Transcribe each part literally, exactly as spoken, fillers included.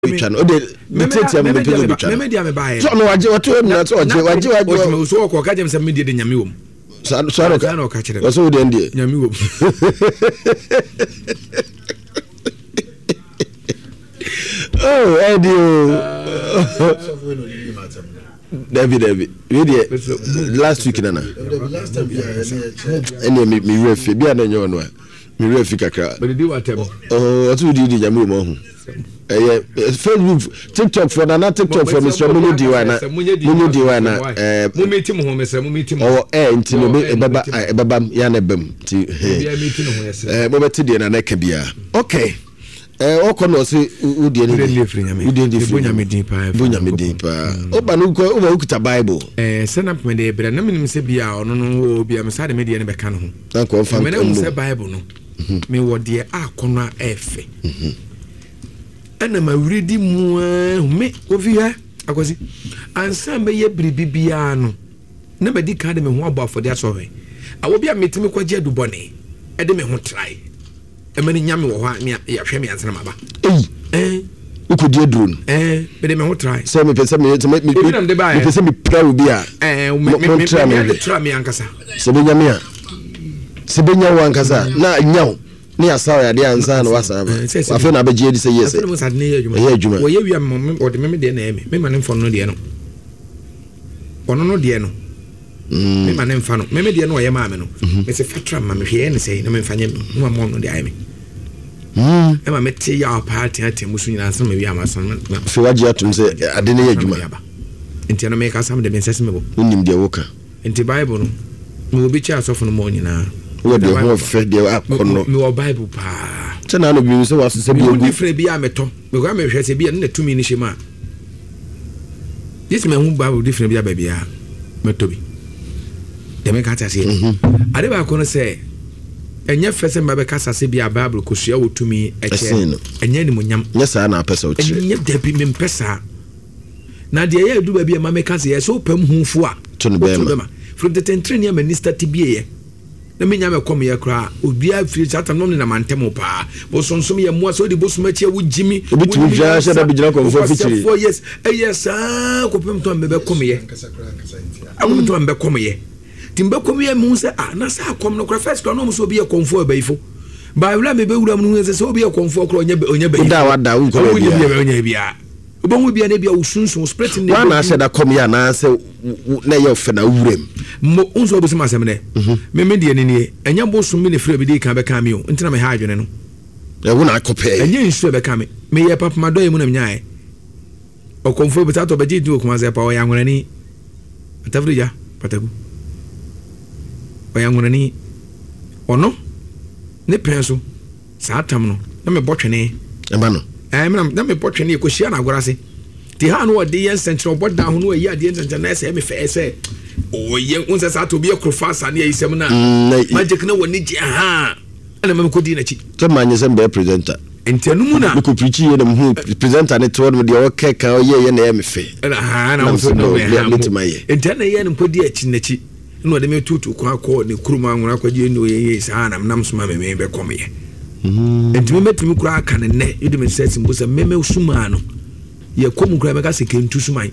Twa no ɔde ne tiatia mu mepɛ sɛ obɛtwa no sɛ ɔno wagye ɔte hɔ nyina sɛ ɔgye wagye wagye. Ɔtumi so ɔkɔ ɔka kyerɛ me sɛ me deɛ de Nyame wɔ mu. Saa saa na Saa na ɔka kyerɛ me. Ɔsɛ wo deɛ deɛ Nyame wɔ mu. Oh, ɛdi o, dabi dabi, wei deɛ last week nana ɛnna mi mi werɛ fi bi a na ɛnyɛ ɔno a mi werɛ fi kakra. Bɛdidi w'atɛm. Ɔte wo di di Nyame wɔ mu ɔho. Ɛyɛ Facebook, TikTok fo nana, TikTok fo, mesrɛ mo nye di wa na mo nye di wa na ɛɛ Mo mi ti mo ho, mesrɛ mo mi ti mo. Ɔwɔ ɛɛ nti no Yɛ, ɛbɛba ɛɛ, ɛbɛba m ya na ɛbɛm nti. Obiara mi ti ne ho, yɛsrɛ. Ɛɛ mobɛte deɛ nana ɛka biara. Okay, ɛɛ ɔkɔ na ɔse wo deɛ ne Wo deɛ ne firi Nyame. Wo deɛ ne firi Mebɔ Nyame din paa, bɔ Nyame din paa. Woba no wokɔ woba wokita Bible. Ɛɛ sɛ na mede brɛ na menim sɛ bia ɔno no wɔ bia me saa de me deɛ no bɛka ne ho. Na nkɔ ɔmfa Mene hu sɛ mmom. Bible no mewɔ deɛ akɔnɔ a ɛɛfɛ ɛna ma wuri di mu aa me Kofi hɛ Akwasi ansa mɛyɛ biribi biara no na madi kan de me ho abɔ afɔde asɔhwɛ awɔ bi a metumi kɔgye adubɔne ɛde me ho trae ɛma no nya me wɔ hɔ a me yɛhwɛ me ansa na maba. Eyi ɛɛ wokɔdi aduro no. Ɛɛ mede me ho trae. Sɛ mepɛ sɛ me sɛ me me Ebi na mede baeɛ. mepɛ sɛ mepira wo bi a ɛɛ mo me mo me ntra me me me hwɛ tra me ankasa. Sɛ bɛnya me a, sɛ bɛnya wo ankasa a, na nya wo ne yɛasa wo yadeɛ ansa na woasan aba. Eh, sɛ- sɛ- Afei na abɛgye adi sɛ yɛ sɛ Afei na mo sɛ ade no yɛ adwuma. Ɛyɛ adwuma. Wɔyɛ wie a me me ɔde me me deɛ na ɛyɛ me me ma ne mfa no deɛ no, ɔno no deɛ no Mm. me ma ne mfa no me me deɛ no ɔyɛ maa me no. Mhm. Me sɛ fatra ma me hwɛ yɛ ne sɛ na me mfa nyɛ me na ma ɔno deɛ ayɛ me. Mm. Ɛma me te yaw paa teatea mu so nyinaa ansa na me wie ama san na Afei woagye atom sɛ ade no yɛ adwuma. Aba nti ɛno meka sam de me nsɛ sɛ mebɔ. Wonim deɛ woka. Nti Bible no mewɔ bi kyɛ asɔfo no ma nyinaa. Wowɔ deɛ ho ɔfɛ deɛ akɔnnɔ. Mewɔ Bible paa. Sɛ na ano bi sɛ woasesɛ bi mehu agu. Different bi a metɔ mekɔ a mehwɛ sɛ bi a ne na tumi no hyɛ mu a gye sɛ mahu Bible different bi a baabi a mɛtɔ bi deɛ meka te aseɛ. Mhm. Ade baako no sɛ ɛnyɛ fɛ sɛ mma bɛkasa sɛ bi a Bible kɔsua wɔ tumi Ɛsen ɛkyɛ no. Ɛnyɛ animonyam. Nyɛ saa na apɛ sɛ wokyerɛ. Ɛnyɛ, dabi, mempɛ saa. Na deɛ ɛyɛ adu baabi a ma meka sɛ yɛ sɛ wopam hufo a To no woto bɛrima. Bɛma firi tetentere ne ama ni start bieɛ na menya mɛkɔ meyɛ koraa obiaa firi saa tam nom ne nam antɛm paa bosonsom yɛ mmoa sɛ wode bosom akyi a wogyimi. Obi tumi gyina hyɛ da bi gyina kɔmfoɔ fikyiri. Wokwaseafoɔ, yes, ɛyɛ saa kɔpem tɔ a mebɛkɔ meyɛ akɔpem tɔ a mebɛkɔ meyɛ nti mebɛkɔ meyɛ mehu sɛ ah, na saa akɔm no kora first kora na ɔmo sɛ obi yɛ kɔmfoɔ abayifo baawura mebɛwura mu no hu sɛ sɛ obi yɛ kɔmfoɔ kora ɔnyɛ ɔnyɛ bayifo. Woda a wada, wonkɔ Wonyɛ baabiara. biara, ɔnyɛ biara wobɛhu bia na bia wo sunsun spirit ne Woa na ahyɛ da kɔm yɛ anaasɛ wo- wo- na ɛyɛ ɔfɛ na wowuram? Mo nso wobɛsɛm asɛm dɛ me me deɛ ne nie, ɛnyɛ bosom bi ne frɛ bi de ka bɛka me o nti na meha adwene no. Ɛwo na akɔpɛɛ. Ɛnyɛ nsuo a ɛbɛka me, meyɛ papamadɔyɛ mu na menyaeɛ ɔkɔmfoɔ bi tatɔ bɛgye di wɔ Kumase pa. Ɔyɛ anworani atafiri gya pataku, ɔyɛ anworani. Ɔno ne pɛn so saa tam no na mebɔ twene. Ɛma no. Ɛɛ mena na mebɔ twene yɛkɔhyia no agorɔ ase nti ha no ɔde yɛ nsɛnkyerɛ ɔbɔ dan ho no ɔyi adeɛ nsɛnkyerɛ na ɛsɛ me fɛɛ sɛ ɔyɛ wo sɛ saa to obi yɛ korofa asa ne ayi sɛm no a Mm, na- magic na wɔne gye ha ɛna ma mekɔdii n'akyi. Sɛ maanyɛ sɛ mbɛyɛ presenter. Nti ɛno mu na mekɔ preach yie na mehu presenter ne te hɔ nom deɛ ɔkɛ ka ɔyɛyɛ na ɛyɛ me fɛ. Ɛna ha na Na wo nso mesɛ na no, ɔbɛn ha me- mo. mɛtumi ayɛ. Nti ɛna yɛ no nkɔdi akyi n'akyi na ɔde me tutu kwan akɔ ne kurom anwona akɔgye ne ɔyɛ yie saa na menam soma me me bɛkɔmeyɛ. Nti memɛtumi koraa aka ne nnɛ yɛde me nsa si mpo sɛ meme sumaa no yɛkɔ mu koraa mɛka sɛ kɛntu suman.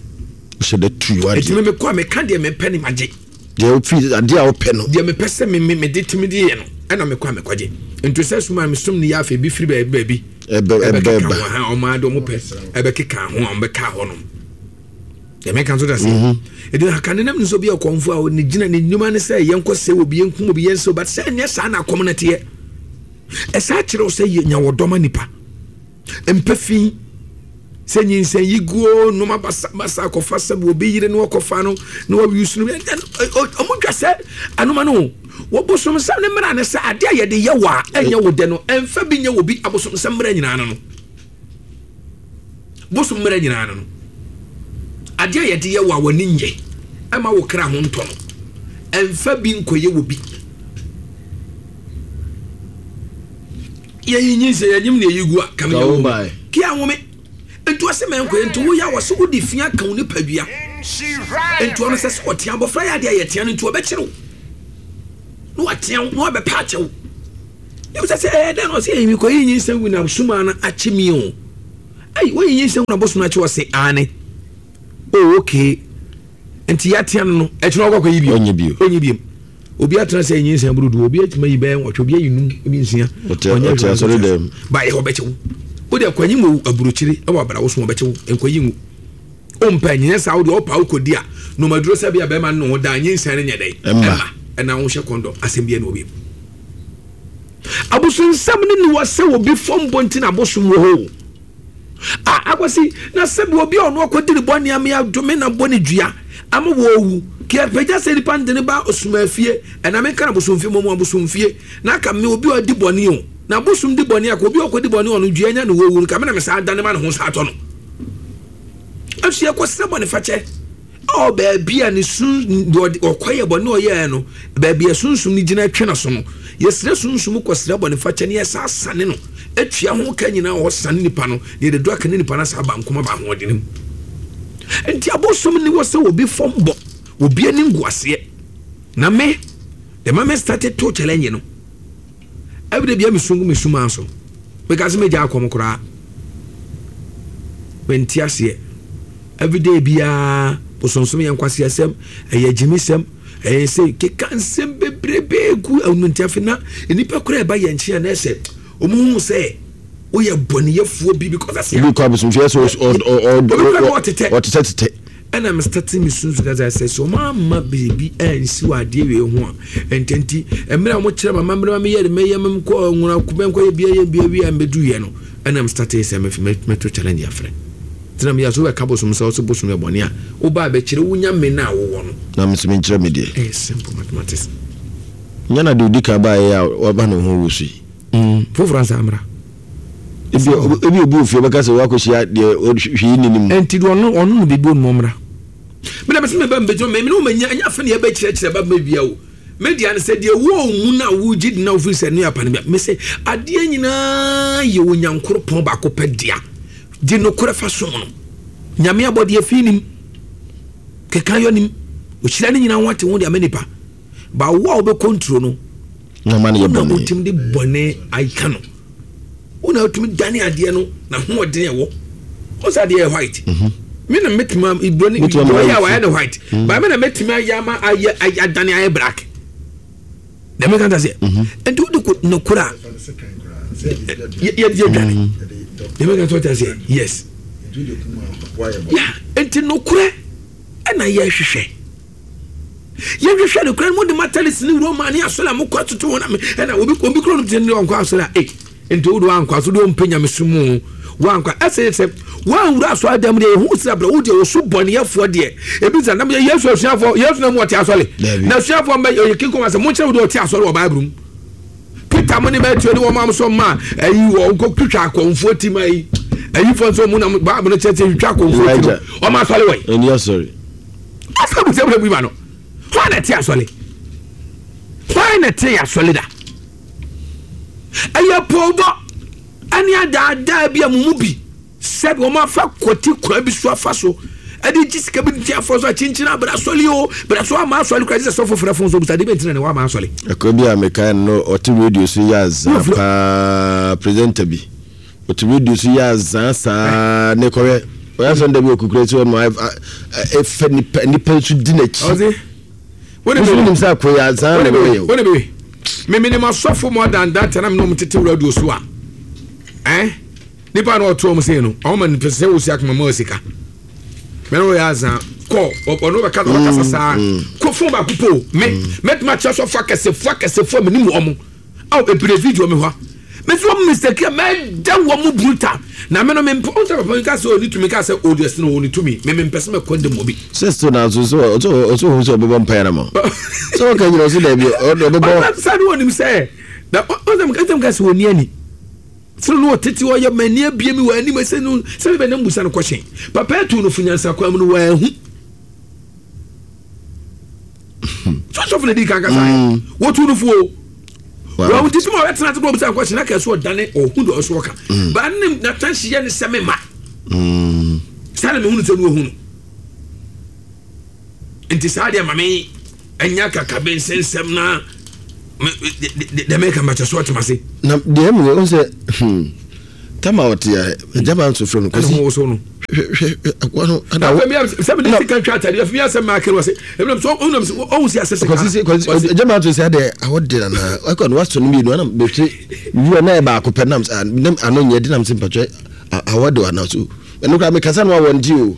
Wohyɛ da tui Ɛtumi wadeɛ. mekɔ a meka deɛ mepɛ ne magye. Deɛ wofi adeɛ a wopɛ no. Deɛ mepɛ sɛ me me mede tumi de yɛ no ɛna mekɔ a mekɔgye nti sɛ suma mesom ne yɛ afei bi firi baabi baabi ɛbɛ ɛbɛ ɛbɛkeka ba ho ha ɔmo ade ɔmo pɛ ɛbɛkeka ho a ɔmo bɛka hɔ nom deɛ mɛka nso da se ɛdi na kane nam nso bi yɛ kɔnfo a ne gyina ne nnwuma ne sɛ yɛnkɔ sɛ obi yɛnkum obi yɛnsɛ obi sɛ ɛnyɛ saa na akɔm no teɛ. Ɛsaa kyerɛ wo sɛ yɛ nya wɔ dɔma nipa mpɛ fi sɛ nyinsɛn yi guo nnoma basabasa akɔfa sɛ obi yere no ɔkɔfa no na wawi su no ɔmo dwa sɛ anoma no wɔbosomsɛm ne mmara ne sɛ adeɛ a yɛde yɛ wɔ a ɛnyɛ wo dɛ no ɛmfa bi nyɛ wɔ bi. Abosomsɛm mmara nyinaa no no bosom mmara nyinaa no no adeɛ a yɛde yɛ wɔ a w'ani nyɛ ɛma wo kra ho ntɔ no ɛmfa bi nkɔyɛ wɔ bi. Yɛyi nyinsɛn yɛnyim ne yɛyi gu a kam Ka yɛ wo wo bae. kia nwome nti ɔsɛ mɛnkɔyɛ nti woyɛ a wɔsɛ wode fia ka wo nipadua nti ɔno sɛ sɛ ɔtea abɔfra yɛ adeɛ a yɛtea no nti ɔbɛkyerɛ wo na watea wo na wabɛpɛ akyɛ wo ne sɛ sɛ ɛyɛ dɛn na ɔsɛ ɛyi mekɔyi nyinsɛn gu na suma no akye mi o. Ɛyi wɔyɛ nyinsɛn na abosom akyi wɔ se aane. Oh okay. Nti yɛatea no no ɛkyerɛ ɔkɔ akɔyi bio. Ɔnyɛ bio. Ɔnyɛ bio. Obi atena sɛ nyinsɛn boro du, obi atumi ayi bɛyɛ nwɔtwe, obi ayi num, obi nsia. Ɔte ɔte asɔre dɛm. Ba yɛ ɔbɛkyɛ wo. Wode akwanyi mu aburokyire ɛwɔ abra wo so ɔbɛkyɛ wo. Nkwanyi ngu. Ompɛ nyɛ saa wode ɔpa wokɔdi a nomaduro sɛ bia bɛrima no ho da nyinsɛn no nyɛ dɛn. Ɛmma. Ɛna wohyɛ kɔndɔm asɛm bia na obi. Abosonsɛm ne ne wɔ sɛ obi fam bɔ nti na abosom wɔ hɔ. Ah, akwasi na sɛbi obi a ɔno akɔdi ne bɔne ame adome na bɔ ne dua ama wɔwu kɛpɛgya sɛ nipa ndene ba osoma afie ɛna menka na bosomfie mɔmu abosomfie na aka me obi a ɔdi bɔne o na abosom di bɔne aka obi a ɔkɔdi bɔne ɔno dua nya ne wɔwu no ka me na me saa dane ma ne ho saa atɔ no ɛso yɛkɔsrɛ bɔne fakyɛ ɔ baabi a ne sun ɔkɔyɛ bɔne ɔyɛɛ no baabi a sunsum no gyina twe no so no yɛsrɛ sunsum kɔsrɛ bɔne fakyɛ ne yɛsa sane no atua ho ka nyinaa ɔsane nipa no na yɛde do aka ne nipa no asa aba nkoma ba ahoɔden mu nti abosom ne wɔ sɛ obi fam bɔ obi ani ngu aseɛ na me the moment started to challenge no every day bia me sungu me suma so because me gya akɔm koraa mente aseɛ every day bia bosonsom yɛ nkwasi asɛm ɛyɛ gyimisɛm ɛyɛ sɛ keka nsɛm bebrebe gu ɛnu nti afei na nipa koraa ɛba yɛn nkyɛn na ɛsɛ ɔmo hu sɛ woyɛ bɔneyɛfoɔ bi because ɛsɛ obi kɔ abosomfie sɛ ɔtetɛ ɔtetɛ tetɛ ɛna me start me sunsun kasa sɛ sɛ ɔmo ama biribi ɛnsi wɔ adeɛ wei ho a ntɛnti mmerɛ a ɔmo kyerɛ ma mmerɛ ma meyɛ de mɛyɛ mɛ nkɔ nwura kubɛ nkɔ yɛ bia yɛ bia wia mbɛdu yɛ no ɛna me start sɛ mɛ mɛto challenge afrɛ tena mi yɛ so bɛka bosom sɛ ɔsɛ bosom yɛ bɔne a woba abɛkyerɛ wonya me na wowɔ no na me nso menkyerɛ me deɛ ɛyɛ simple mathematics nyɛ na deɛ odi ka baeɛ a waba ne ho wɔ so yi foforɔ ansa mmra ebi ebi obi ofie bɛka sɛ wakɔhyia deɛ hwee nni ne mu ɛnti deɛ ɔno ɔno no biribi onum mmra mena bɛsɛ meba mbɛgyina me ne wo manya ɛnyɛ afe ne yɛbɛkyerɛkyerɛ ba mɛwia o media no sɛ deɛ wɔ mu no a wogye di na wofiri sɛ ne apa no bia me sɛ adeɛ nyinaa yɛ Onyankoropɔn baako pɛ dea gye nokorɛ fa som no Nyame abɔdeɛ fi nim keka yɔ nim ɔhyira no nyinaa ho ate ho de ama nipa ba wo a wobɛkɔ nturo no na ma no yɛ wona bɔne wotumi de bɔne ayika no wona wotumi dane adeɛ no na hoɔden ɛwɔ wo sɛ adeɛ yɛ white me na mɛtumi ibɔ ne Mɛtumi ama ɔyɛ a ayɛ wayɛ no white ba me na mɛtumi ayɛ ama ayɛ ayɛ adane ayɛ black na mɛka ta sɛ nti wode ko nokora a yɛde yɛdwane na mɛka sɛ ɔta sɛ yes ya nti nokorɛ ɛna yɛhwehwɛ yɛhwehwɛ nokorɛ no mode matalis ne Roma ne asɔre a mokɔ atoto wɔn ame ɛna obi obi kuro no te ne ɔnkɔ asɔre a ei nti wode wankɔ asɔre de ɔmpɛ nyamesom mu wankɔ ɛsɛ sɛ wanwura asɔre dɛm deɛ ɛhu sɛ brɛ wo deɛ wɔso bɔneyɛfoɔ deɛ ebi sɛ nam yɛ Yesu asuafoɔ Yesu na mu ɔte asɔre Dabi. na asuafoɔ mbɛ ɔyɛ kinkom asɛ monkyerɛ wo deɛ ɔte asɔre wɔ Bible mu Peter mo ne Matthew ne wɔn am so ma ayi wɔ nkɔ twitwa akɔnfoɔ ti ma yi ayifoɔ nso mu nam Bible no kyerɛ sɛ twitwa akɔnfoɔ ti no Elijah. ɔmo asɔre wɔ yi ɛni asɔre asa bu sɛ bu ma no hwan na ɛte asɔre hwan na ɛte asɔre da ɛyɛ pɔwbɔ ɛne adaadaa bi a mo mu bi sɛbi wɔn afa kɔti kwan bi so afa so ɛde gye sika bi nti afɔ so akyinkyin abira asɔre o bira so ama asɔre kura sɛ sɔfo fɛrɛ fon so busa de bɛ ntina ne wa ama asɔre ɛkɔ bi a mekae no ɔte radio so yɛ azaa paa presenter bi ɔte radio so yɛ azaa saa ne kɔhwɛ ɔyɛ asɔn da bi okukura si hɔ no ɛfɛ nipa nipa nso di n'akyi ɔse wone nso nim sɛ akɔ yɛ azaa na ɛbɛyɛ o wone bebe memenim asɔfo more than that na mene ɔmo tete radio so a eh nipa na ɔto ɔmo sei no ɔmo ma nipa sɛ wosi akoma ma sika mene wɔyɛ azaa kɔ ɔno bɛka ɔbɛkasa saa kɔ fon baako po me mɛtuma kyerɛ sɔfo akɛsefoɔ akɛsefoɔ menim wɔn aw ebire video mi hɔ mesi wɔn mistake a mɛda wɔn mu brutal na me no me mpɛ ɔn sɛ papa mi ka sɛ ɔni tumi ka sɛ ɔdi ɛsɛ na ɔni tumi me me mpɛ sɛ mɛ kɔn de mu obi. Sɛ still na so so ɔsɛ ɔsɛ ohun sɛ ɔbɛbɔ mpaeɛ na ma sɛ ɔka nyina ɔsɛ daabi ɔbɛbɔ sani wɔn nim sɛ na ɔsɛ ɔsɛ ka sɛ ɔni ani sɛ no ɔtete ɔyɛ mɛ ni ebie mi wɔ anim ɛsɛ no sɛ bɛ nam busa no kɔhyɛn papa etu no funyansa kwan mu no wɔ ɛhu sɔsɔfo na di kan kasa yɛ wɔtu no fo o wɔn ti sima ɔbɛtena ase kɔ ɔbɛsa nkɔhyɛn na kɛse ɔdane ɔhu de ɔso ɔka baa ne n'atansi yɛ ne sɛ me ma saa na mehunu sɛ no ɔhu no nti saa deɛ ma me ɛnya kakabe nsɛnsɛm na dɛ mɛka makyɛ so ɔtema se na deɛ mu ɔn sɛ hmm, Tama ɔte a gyama nso frɛ no Ɛna ho woso no. Hwɛ hwɛ akoa no ana Afei mi sɛ mi de sika twa atade afei mi asɛm maa kiri wɔ se ebi nam so ɔhun nam so ɔhun si asɛ sika. Kwasi kwasi gyama nso sɛ adeɛ awɔ de nana ɛkɔ no wasɔ no mmienu ana bɛhwɛ wia na yɛ baako pɛ nam sɛ nam ano nyɛ de nam sɛ mpatwɛ awɔ de ana so ɛno koraa mekasa no awɔ nti o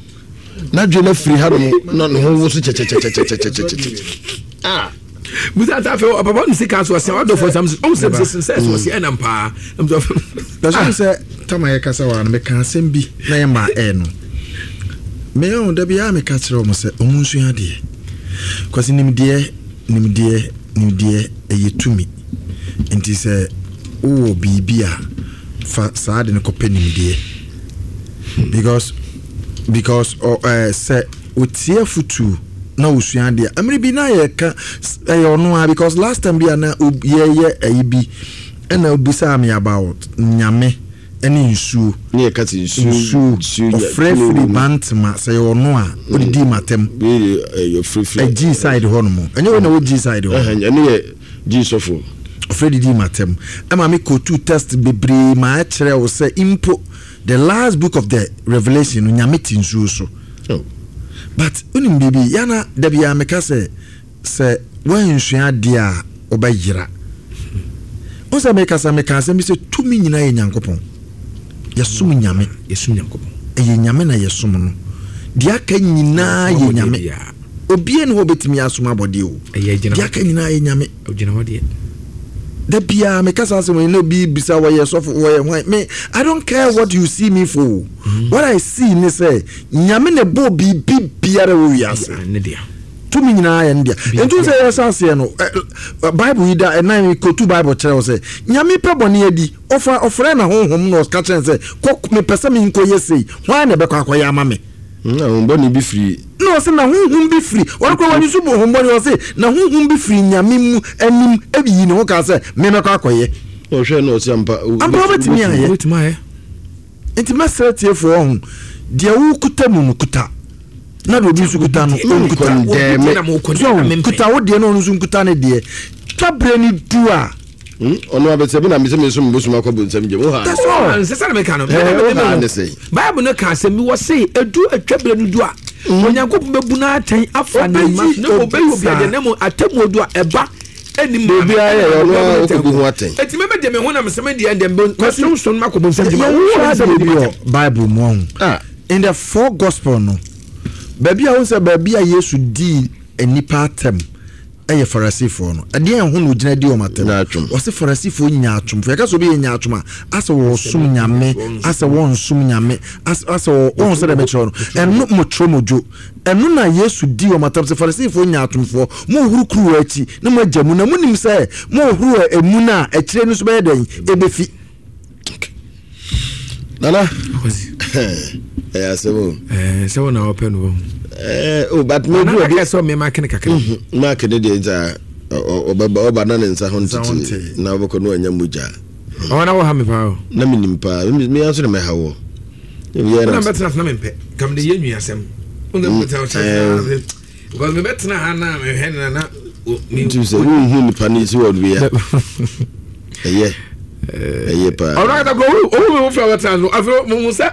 n'adwene no afiri ha nom na ne ho wo so kyɛkyɛkyɛkyɛkyɛkyɛkyɛ. Ah, musa ata afei ɔpapa ne sika so ɔsɛ ɔdɔ fɔ sam ɔhun sɛ sɛ sɛ sɛ ɔsɛ ɛnam paa. Bɛsɛ sɛ tama yɛkasa wɔ ano meka asɛm bi na yɛ maa ɛɛ no meyɛ da biara meka kyerɛ ɔmo sɛ ɔmo nsua adeɛ kɔsi nimdeɛ nimdeɛ nimdeɛ ɛyɛ tumi. Nti sɛ wowɔ biribi a fa saa de no kɔpɛ nimdeɛ because because ɔ ɛɛ sɛ otie afutuo na osua adeɛ amiri bi na yɛka ɛyɛ ɔno a, because last time bi a na yɛyɛ ɛyi bi ɛna obisaa me about Nyame ɛne nsuo. Ne yɛ kati nsuo. Nsuo ɔfrɛ firi Bantama sɛ yɛ ɔno a odidi matam. Ɛgyi side hɔ nom, ɛnyɛ wɔn na wɔgyi side hɔ. Ɛne yɛ gyi sɔfo. Ɔfrɛ didi matam ɛma mi kotu test bebree maa ɛkyerɛ wo sɛ mpo the last book of the Revelation no, Nyame te nsuo so. Oh. But onim biribi yana dabi a meka sɛ sɛ wɔnsua adeɛ a ɔbɛyera wọn sɛ mekasa meka asɛm bi sɛ tumi nyinaa yɛ Nyankopɔn. Yɛsom Nyame. Yɛsom Nyankopɔn. Ɛyɛ Nyame na yɛsom no. Deɛ aka nyinaa yɛ Nyame. Obie ne hɔ bɛtumi asom abɔdeɛ o. Deɛ aka nyinaa yɛ Nyame. Da biara meka saa asɛm yi na obi bisa wɔyɛ sɔfo, wɔyɛ hwan. Me, I don't care what you see me for. mm. What I see ne sɛ Nyame na ɛbɔ biribi biara wɔ wiase, tumi nyinaa yɛ ne dea. Nti sɛ yɛhyɛ aseɛ no, Bible yi da ɛnan kotu Bible kyerɛ wo sɛ Nyame pɛ bɔne adi. Ɔfa ɔfrɛ na honhom na ɔka kyerɛ sɛ kɔ, mepɛ sɛ menkɔyɛ sei, hwan na ɛbɛkɔ akɔyɛ ama me? Na honhom bi firi. Na ɔsɛ na honhom bi firi ɔno kora wɔne so bu honhom bɔne. Ɔse na honhom bi firi Nyame mu anim ayi ne ho kaa sɛ memɛkɔ akɔyɛ. Ɔhwɛ na ɔsɛ ampa. Ampa wobɛtumi ayɛ. Nti mɛsrɛ tiefoɔ, ɔho deɛ wokuta mu no, kuta, na deɛ obi nso kuta no ɔnkuta. So kuta wo deɛ na ɔno nso nkuta ne deɛ. Twa berɛ no du a ɔno abɛsɛ bi na mesɛ me nso mebosoma akɔ bonsam gyem wo ha. That's all. Nsɛ sɛ na meka no. Wo ha ne sɛ Bible no ka asɛm bi wɔ se edu atwa berɛ no du a, Onyankopɔn bɛbu no atɛn afa ne mma so na ɔbɛyi obi adeɛ na mmom atemmuo du a ɛba ɛnim. Biribiara yɛ ɔno a wokɔbu ho atɛn. Ɛti mɛmɛ deɛ me ho nam sɛ me deɛ deɛ mɛsonson no makɔ bonsam gyem. Yɛhwɛ adeɛ bi wɔ Bible mu ɔho in the four gospel no, baabi a wo sɛ baabi a Yesu dii nnipa atɛm ɛyɛ Farisifoɔ no. Ɛdeɛ ɛho na ogyina di wɔn atɛm? Wɔsi Farisifoɔ nya atomfo. Yɛka sɛ obi yɛ nya atom a, asɛ wɔsom Nyame, asɛ wɔnsom Nyame, asɛ wɔn sɛ dɛm ɛkyerɛ no ɛno mo twerɛ mo dwo. Ɛno na Yesu di wɔn atɛm sɛ Farisifoɔ nya atomfoɔ, mo huru kuruwa akyi na mo agya mu na mo nim sɛ mo huru emu na akyire no so bɛyɛ dɛn ebefi. Nana, ɛyɛ asɛm o. Sɛ wo na wɔpɛ no wɔ. Oh, but me do obi sɛ me mark ne kakra. Mark ne deɛ nsa ɔbɛba ɔba na ne nsa ho ntete na ɔbɛkɔ no anya mogya. Ɔwɔ na wɔ ha me paa o. Na menim paa, me nso na mɛha wɔ. Na mɛtena na mempɛ kam de yɛ nwi asɛm. Wona mɛtena because mebɛtena ha na mehwɛ na na nti sɛ wonhu nipa no si wɔ wia ɛyɛ ɛyɛ paa. Ɔno akata kɔ owu mi ho fɛ wɔtena so afei mo ho sɛ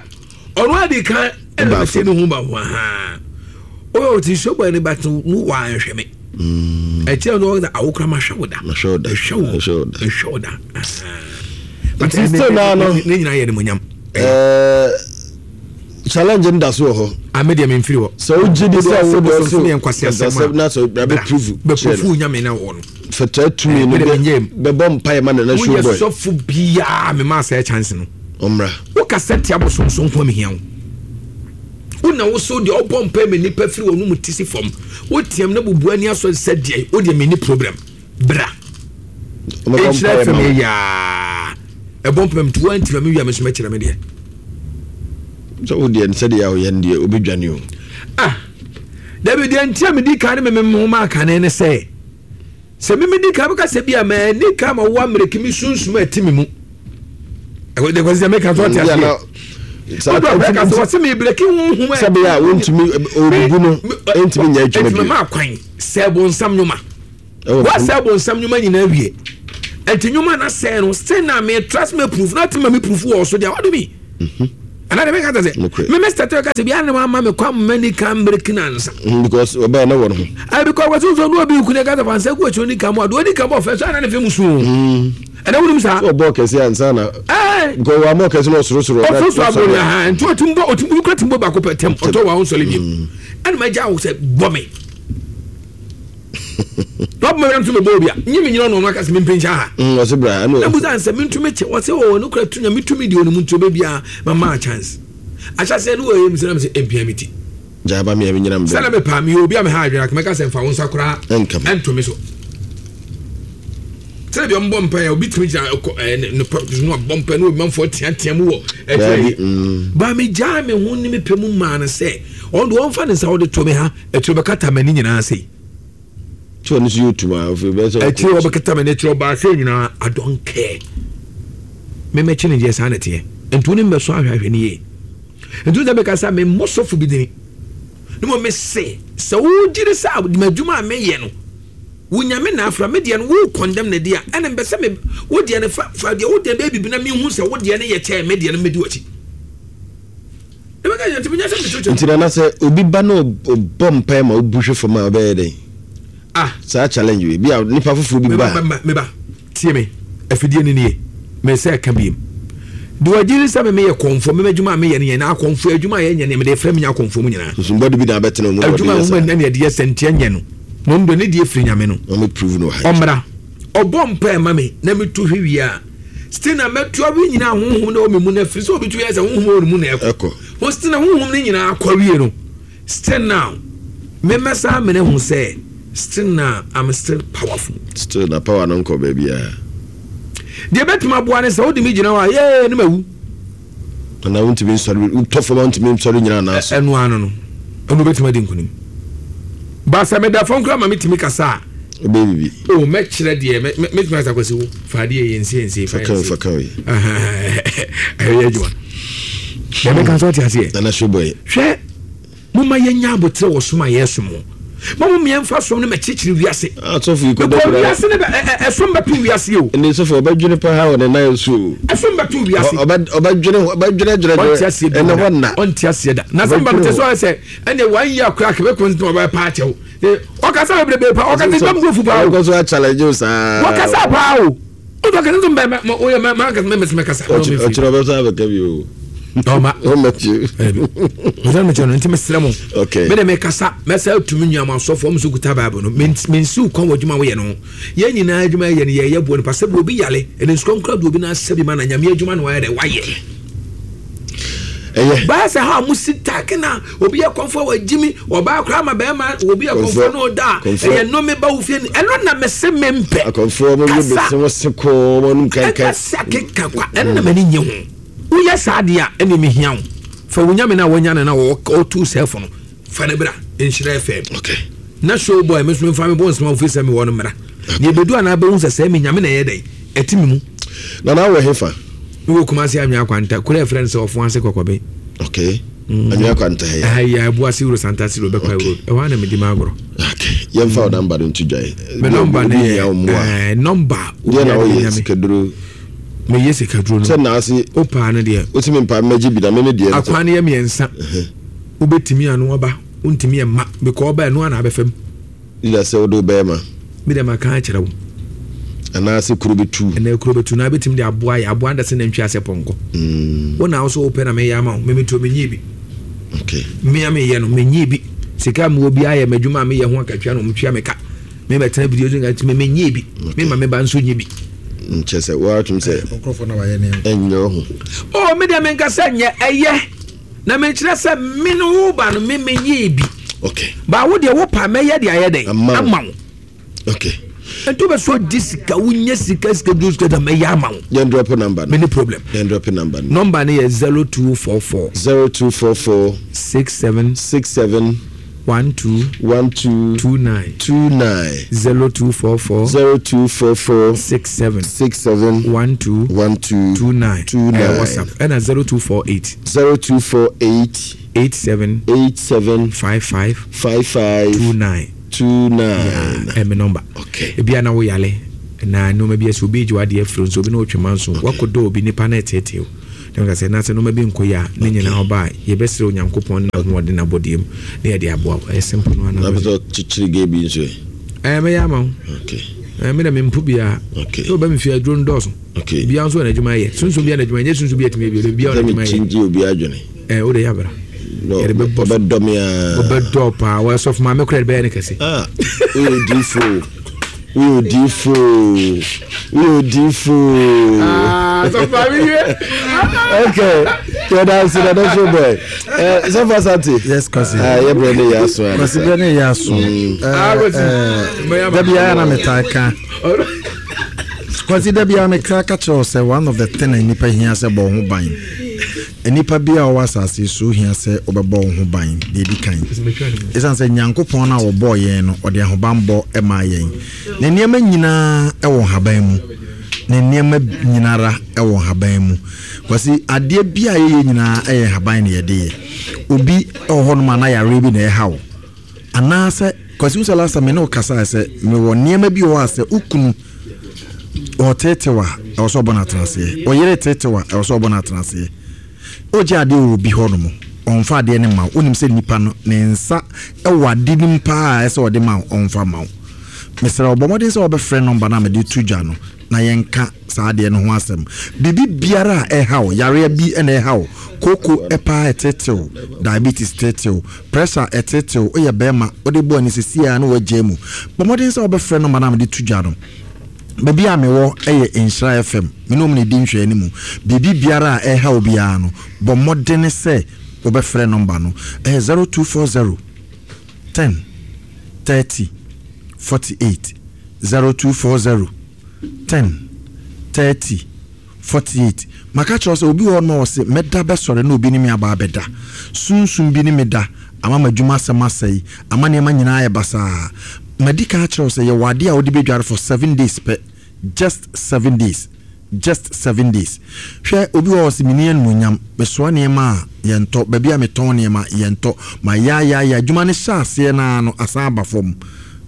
ɔno adi kan ɛna bɛhyɛ ne ho ba ho ahaa ɔyɛ ɔte nsuo bɔ ɛne ba to no wɔ anhwɛ me ɛkyɛ no ɔda awokora ma hwɛ wo da hwɛ wo da hwɛ wo da hwɛ wo da. Nti still naa no ne nyinaa yɛ ne mo nyam. Ɛɛ, challenge no da so wɔ hɔ. Ame deɛ memfiri hɔ. Sɛ wogye di sɛ wo deɛ so yɛ nkwasi asɛm a na sɛ bɛ prove bɛ prove Nyame na wɔ no. Fɛtɛ tumi no bɛbɔ mpaeɛ ma Nana Show Boy. Woyɛ sɔfo biaa mema sɛ chance no. Ɔmmra. Wokasa tia bosomsom ko mehia wo. Wona wo so deɛ ɔbɔ mpaeɛ ma nnipa firi wɔn mu ti si fam, woteam na bubu ani asɔ sɛ deɛ wo deɛ menni problem, bra ɛnhyira fam yɛ yaa ɛbɔ mpaeɛ mti woanti ma mewia me so mɛkyerɛ me deɛ. Sɛ wo deɛ sɛdeɛ a woyɛ no deɛ wobɛdwane o. Ah, dabi, deɛ nti a medi kan ne meme ho ma akane ne sɛ sɛ meme di kan bɛka sɛ bi a maani kan ma wo ammerɛki me sunsum a ɛte me mu ɛkɔ sɛ meka so ɔte aseɛ wɔse mebrɛki honhom. Sɛ bɛyɛ a wontumi ɔbubu no ɛntumi nyɛ adwuma bio. Ma kwan sɛ bonsam nnwuma, woasɛ bonsam nnwuma nyinaa wie. Nti nnwuma na sɛn no sɛn na me trust me proof na ti ma me proof wɔ so deɛ what do me ana de meka sɛ me me start ka sɛ bia ne ma me kwa mani kan break na nsa mm, because ɔbɛyɛ na wɔ no ho ai because wɔso so no obi ku ne ka sɛ fansa gu akyi oni kan mu ado oni kan mu ɔfɛ so ana ne fɛ mu su ɛna wonim saa ɔbɔ kɛse ansa na because wɔn amɔ kɛse na ɔsorosoro ɔsorosoro abɔ ne ha nti ɔtum bɔ ɔtum bi kura tum bɔ baako pɛ tɛm ɔtɔ wɔn ahosɔle bi ɛna ma gya wo sɛ bɔ me na ɔbɛma wɛrɛ ntumi bɔ obi a nye mi nyina ɔno ɔno akasɛ mi mpɛnkyɛn ha mm, ɔsɛ bra ɛna ɛbu sɛ ansɛ mi ntumi kyɛ ɔsɛ ɔwɔ ne kura tu na mi tumi di ɔno mu nti ɔbɛ bia ma maa chance ahyɛsɛ ne wɔyɛ mi sɛ na mi sɛ mpia mi ti gyaaba mi a mi nyina mi bɛ sɛ na mi paa mi yɛ obi a mi ha adwene akoma ka sɛ nfa wo nsa koraa ɛnto mi so sɛ bi ɔmbɔ mpa yɛ obi tumi gyina ɛkɔ ɛɛ ne pɔ no abɔ mpa ne obi manfoɔ teatea mu wɔ ɛkyerɛ yi ba mi gyaa mi ho ne mi pɛ mu maa no sɛ ɔno deɛ ɔnfa ne nsa ɔde to mi ha akyire ɔbɛkata m'ani nyinaa sei. Tí ɔno nso yɛ otum a ofiri bɛyɛ sɛ. Akyire ɔbɛkata m'ani akyire ɔbaa sei nyinaa I don't care. Mɛmɛkyi ne deɛ saa na ɛteɛ. Nti wo ne mbɛsɔ ahwɛ ahwɛ ne yie. Nti wo sɛ mɛka sɛ memmɔ sɔfo bi dini. Ne mo mese sɛ wogye di sɛ m'adwuma a meyɛ no wo nyame na afra me deɛ no wo condemn ne deɛ a ɛne mbɛ sɛ me wo deɛ no fa fa deɛ wo deɛ bɛyɛ bibi na mehu sɛ wo deɛ no yɛ kyɛn me deɛ no mɛdi w'akyi. Nti nana sɛ obi ba na ɔbɔ mpae ma wobu hwe fam a ɔbɛyɛ dɛn? Ah. Saa challenge wei bi a nipa foforɔ bi ba. Meba meba tie me afidie no nie mesɛ ɛka biem de wagye ne sɛ me meyɛ kɔnfoɔ me adwuma a meyɛ no yɛ na akɔnfoɔ adwuma a yɛnyɛ no mede frɛ menya akɔnfoɔ mu nyinaa susumbɔde bi na abɛtena mu adwuma a wɔn na yɛde yɛ sɛnteɛ nyɛ no na ɔno deɛ ne deɛ firi nyame no ɔmmra ɔbɔ mpae ma me na metu hwe wie a still na mɛtu awie nyinaa honhom na ɛwɔ me mu no afiri sɛ obi tu yɛ sɛ honhom wɔ ne mu na ɛkɔ ho still na honhom no nyinaa akɔ awie no still now memmɛsa amene ho sɛ still now I'm still powerful. Still na power no nkɔ baabiara. Deɛ bɛtumi aboa ne sɛ wode me gyina hɔ a yɛɛ ne mawu. Anaa wontumi nsɔre wotɔ fam a wontumi nsɔre nyina anaa so. Ɛno ano no ɛno wobɛtumi adi nkonim. Ba sɛ meda fam koraa ma metumi kasa a. Wobɛyɛ biribi. O mɛkyerɛ deɛ mɛtumi asa kwasi wo fa adeɛ yɛ nsie nsie fa yɛ nsie. Fa kan yi. Ɛyɛ adwuma. Deɛ mɛka nso ɔte aseɛ. Nana Showboy. Hwɛ mo ma yɛnya aboterɛ wɔ som a yɛsom ho. Ma mo mmiɛnfa som no mɛkyekyere wiase. Asɔfo yi kɔ dɛ wiase ne bɛ ɛsom bɛto wiase o. Ɛnni sɔfo ɔbɛdwene pa ha wɔ ne nan so o. Ɛsom bɛto wiase. Ɔbɛdwene ɔbɛdwene dwene dwene. Ɔnte aseɛ da. Ɛnna hɔ nna. Ɔnte aseɛ da. Na sɛ mbam te so ayɛ sɛ ɛnna wɔn yi akora kɛmɛ kɔn ti ɔbɛ pa akyɛw. Ɔkasa bebrebe pa ɔkasa bɛm go fu paa o. Ɔkɔ so akyalɛgye o saa. Ɔkasa paa o. Ɔtɔ kasa nso mbɛ mɛ oyɛ mɛ mɛ ankasa mɛ mɛ kasa. Ɔkyerɛ ɔbɛ so abɛka bi o. Ɔma. Ɔma tie. Ɔsɛ mi kyerɛ no nti mi srɛ mo. Okay. Mi de mi kasa mɛsɛ tumi nua mo asɔfo ɔmo so kuta baabu no mi nsiw kwan wɔ adwuma woyɛ no yɛn nyinaa adwuma yɛ no yɛ yɛ buo nipa sɛ bi obi yale ɛne nsukɔm kura bi obi na asɛ bi ma na nyame adwuma na wayɛ dɛ wayɛ. Ɛyɛ. Baa sɛ ha mo si taake na obi yɛ kɔnfɔ wɔ gyimi ɔbaa koraa ma bɛrima obi yɛ kɔnfɔ na ɔda a ɛyɛ nnome ba wo fie ni ɛno na mese me mpɛ. Akɔnfɔ mo yɛ bese mo se kɔɔ mo anum kankan. Ɛka keka kwa ɛno na m'ani nye ho. Woyɛ saa deɛ a ɛne mehia wo. Fa wo nyame no a wɔnya no na ɔtu sɛfo no fa ne bra nhyira F M. Okay. Na show boy me so memfa me bɔ nsɛm a wofiri sɛ mewɔ no mmra. Na ɛbɛdu anaa bɛhu sɛ sɛ me nyame na ɛyɛ dɛn ɛte me mu. Na na wɔ hefa? Mewɔ Kumasi Anwea Kwanta, kuro a ɛfrɛ no sɛ Ɔfo Ase Kɔkɔbe. Okay. Mm. Anwea Kwanta ha yi. Ɛha yi Abu Ase Road, Santase Road, Bɛkwae Road. Ɛhɔ ara na medi m'agorɔ. Okay. Yɛmfa wo namba no nto dwae. Me nɔmba no yɛ nɔmba. Deɛ na woyɛ sikaduro. Meyɛ sikaduro no. Sɛ na ase. O paa no deɛ. Wosi mi mpa mmɛgye bi na me me deɛ. Akwan no yɛ mmiɛnsa. Wobɛtumi ano aba, wontumi ɛma because ɔba ɛno ana abɛfam. Ila sɛ wode wobɛyɛ ma. Me deɛ maka akyerɛ wo. Anaasɛ kuro bɛtu. Ɛnna kuro bɛtu na abɛtumi de aboa yɛ aboa ndasɛ nantwi asɛ pɔnkɔ. Mm. Wo na wo so wopɛ na meyɛ ama wo memetuo menyie bi. Okay. Mmea meyɛ no menyie bi. Sika mewɔ bi ayɛ m'adwuma a meyɛ ho akatua na ɔmtua me ka. Me bɛtena video so nka nti me menyie bi. Me ma me ba nso nye bi. Nkyɛ sɛ woatom sɛ ɛnyɛ ho. Oh, me deɛ menka sɛ nyɛ ɛyɛ. Na menkyerɛ sɛ me no wo ba no me menyie bi. Okay. Ba wo deɛ wo pa mɛyɛ de ayɛ dɛn? Ama wo. Okay. Nti wobɛ so di sika wonya sika sika duro sika da mɛyɛ ama wo. Yɛn drop number no. Many problem. Yɛn drop number no. Number no yɛ zero two four four. Zero two four four. Six seven. Six seven. One two. One two. Two nine. Two nine. Zero two four four. Zero two four four. Six seven. Six seven. One two. One two. Two nine. Two nine. Uh, WhatsApp. Ɛna zero two four eight. Zero two four eight. Eight seven. Eight seven. Five five. Five five. Two nine. Two nine. Yeah, ɛmi number. Okay. Ebi ana wo yale. Na nneɛma bi asi, obi gye wadeɛ afiri nso, obi na ɔtwe ma nso wakɔdɔ obi nipa na ɛteetee o. Na meka sɛ na sɛ nneɛma bi nkɔ yie a, ne nyinaa ɔba a, yɛbɛsrɛ Onyankopɔn ne n'ahoɔden n'abɔdeɛ mu na yɛde aboa wo. Ɛyɛ simple no ana. Na pɛ sɛ ɔkyekyere gay bi nso ɛ? Ɛɛ, mɛyɛ ama wo. Okay. Ɛɛ, me na mempo biara. Okay. Sɛ ɔba me fie, aduro no dɔɔso. Okay. Biara nso wɔ n'adwuma yɛ. Sunsun biara n'adwuma nyɛ sunsun bi atumi yɛ bi, biara wɔ Sɛ n'adwuma yɛ. mekyingye obi adwene. Ɛɛ, o de yɛ abra. No, Yɛde bɛbɔ so. ɔbɛdɔ me a. Ɔbɛdɔ paa. Wɔsɔfo maame koraa de bɛyɛ ne kɛse. Ah, woyɛ odiifo. Woyɛ odiifo. Woyɛ odiifo. Ah, sɔfo maame wie. Okay. Yɛda ase na dɔso boy. Eh, sɔfo Asante. Yes, Kwasi. Ah, yɛbrɛ ne yɛ aso a. Kwasi brɛ ne yɛ aso. Ah, Kwasi. Mɛyɛ ama. Da biara na metaa ka. Kwasi, da biara meka ka kyerɛ wo sɛ one of the thing a nnipa hia sɛ bɔ wo ho ban. Nnipa bi a ɔwɔ asase yi so hia sɛ wobɛbɔ wo ho ban deɛ ɛdi kan. Ɛsiane sɛ Nyankopɔn no a wɔbɔɔ yɛn no, ɔde ahobanbɔ maa yɛn. Ne nneɛma nyinaa wɔ nhaban mu. Ne nneɛma nyinara wɔ nhaban mu. Kwasi, adeɛ bi a yɛyɛ nyinaa yɛ nhaban na yɛde yɛ. Obi wɔ hɔnom a na yareɛ bi na ɛha wo. Anaasɛ, Kwasi, wo sɛ last time me ne wo kasae sɛ mewɔ nneɛma bi wɔ hɔ a sɛ wo kunu ɔteetew a, ɛwɔ sɛ ɔbɔ no atenaseɛ. Ɔyere teetew a, ɛwɔ sɛ ɔbɔ no atenaseɛ. Wogye adeɛ wɔ obi hɔ nom, ɔmfa adeɛ no ma wo. Wonim sɛ nipa no, ne nsa wɔ ade no mu paa a ɛsɛ sɛ ɔde ma wo, ɔmfa ma wo. Mesrɛ wo, bɔ mmɔden sɛ wobɛfrɛ nɔmba no a mede to dwa no na yɛnka saa adeɛ no ho asɛm. Biribi biara a ɛha wo, yareɛ bi na ɛha wo, kooko paa ɛteetew, diabetes teetew, pressure ɛteetew, woyɛ bɛrima, wode bɔ ani seesei ara na woagyae mu. Bɔ mmɔden sɛ wobɛfrɛ nɔmba no a mede to dwa no. Baabi a mewɔ yɛ Nhyira F M. Me ne wɔn na ɛdi nhwɛanim mu. Biribi biara a ɛha wo biara no, bɔ mmɔden sɛ wobɛfrɛ nɔmba no. Ɛyɛ zero two four zero ten thirty forty-eight, zero two four zero ten thirty forty-eight. Maka kyerɛ wo sɛ obi wɔ hɔ nom a ɔse mɛda bɛsɔre na obi ne me aba abɛda. Sunsum bi ne me da ama m'adwuma asɛm asɛe, ama nneɛma nyinaa ayɛ basaa. Madi kan akyerɛ wo sɛ yɛwɔ adeɛ a wode bɛdware for seven days pɛ. Just seven days. Just seven days. Hwɛ, obi wɔ hɔ sɛ menni animuonyam, mesoa nneɛma a yɛntɔ, baabi a metɔn nneɛma yɛntɔ, ma yaayaaya adwuma no hyɛ aseɛ naa no asan aba fam.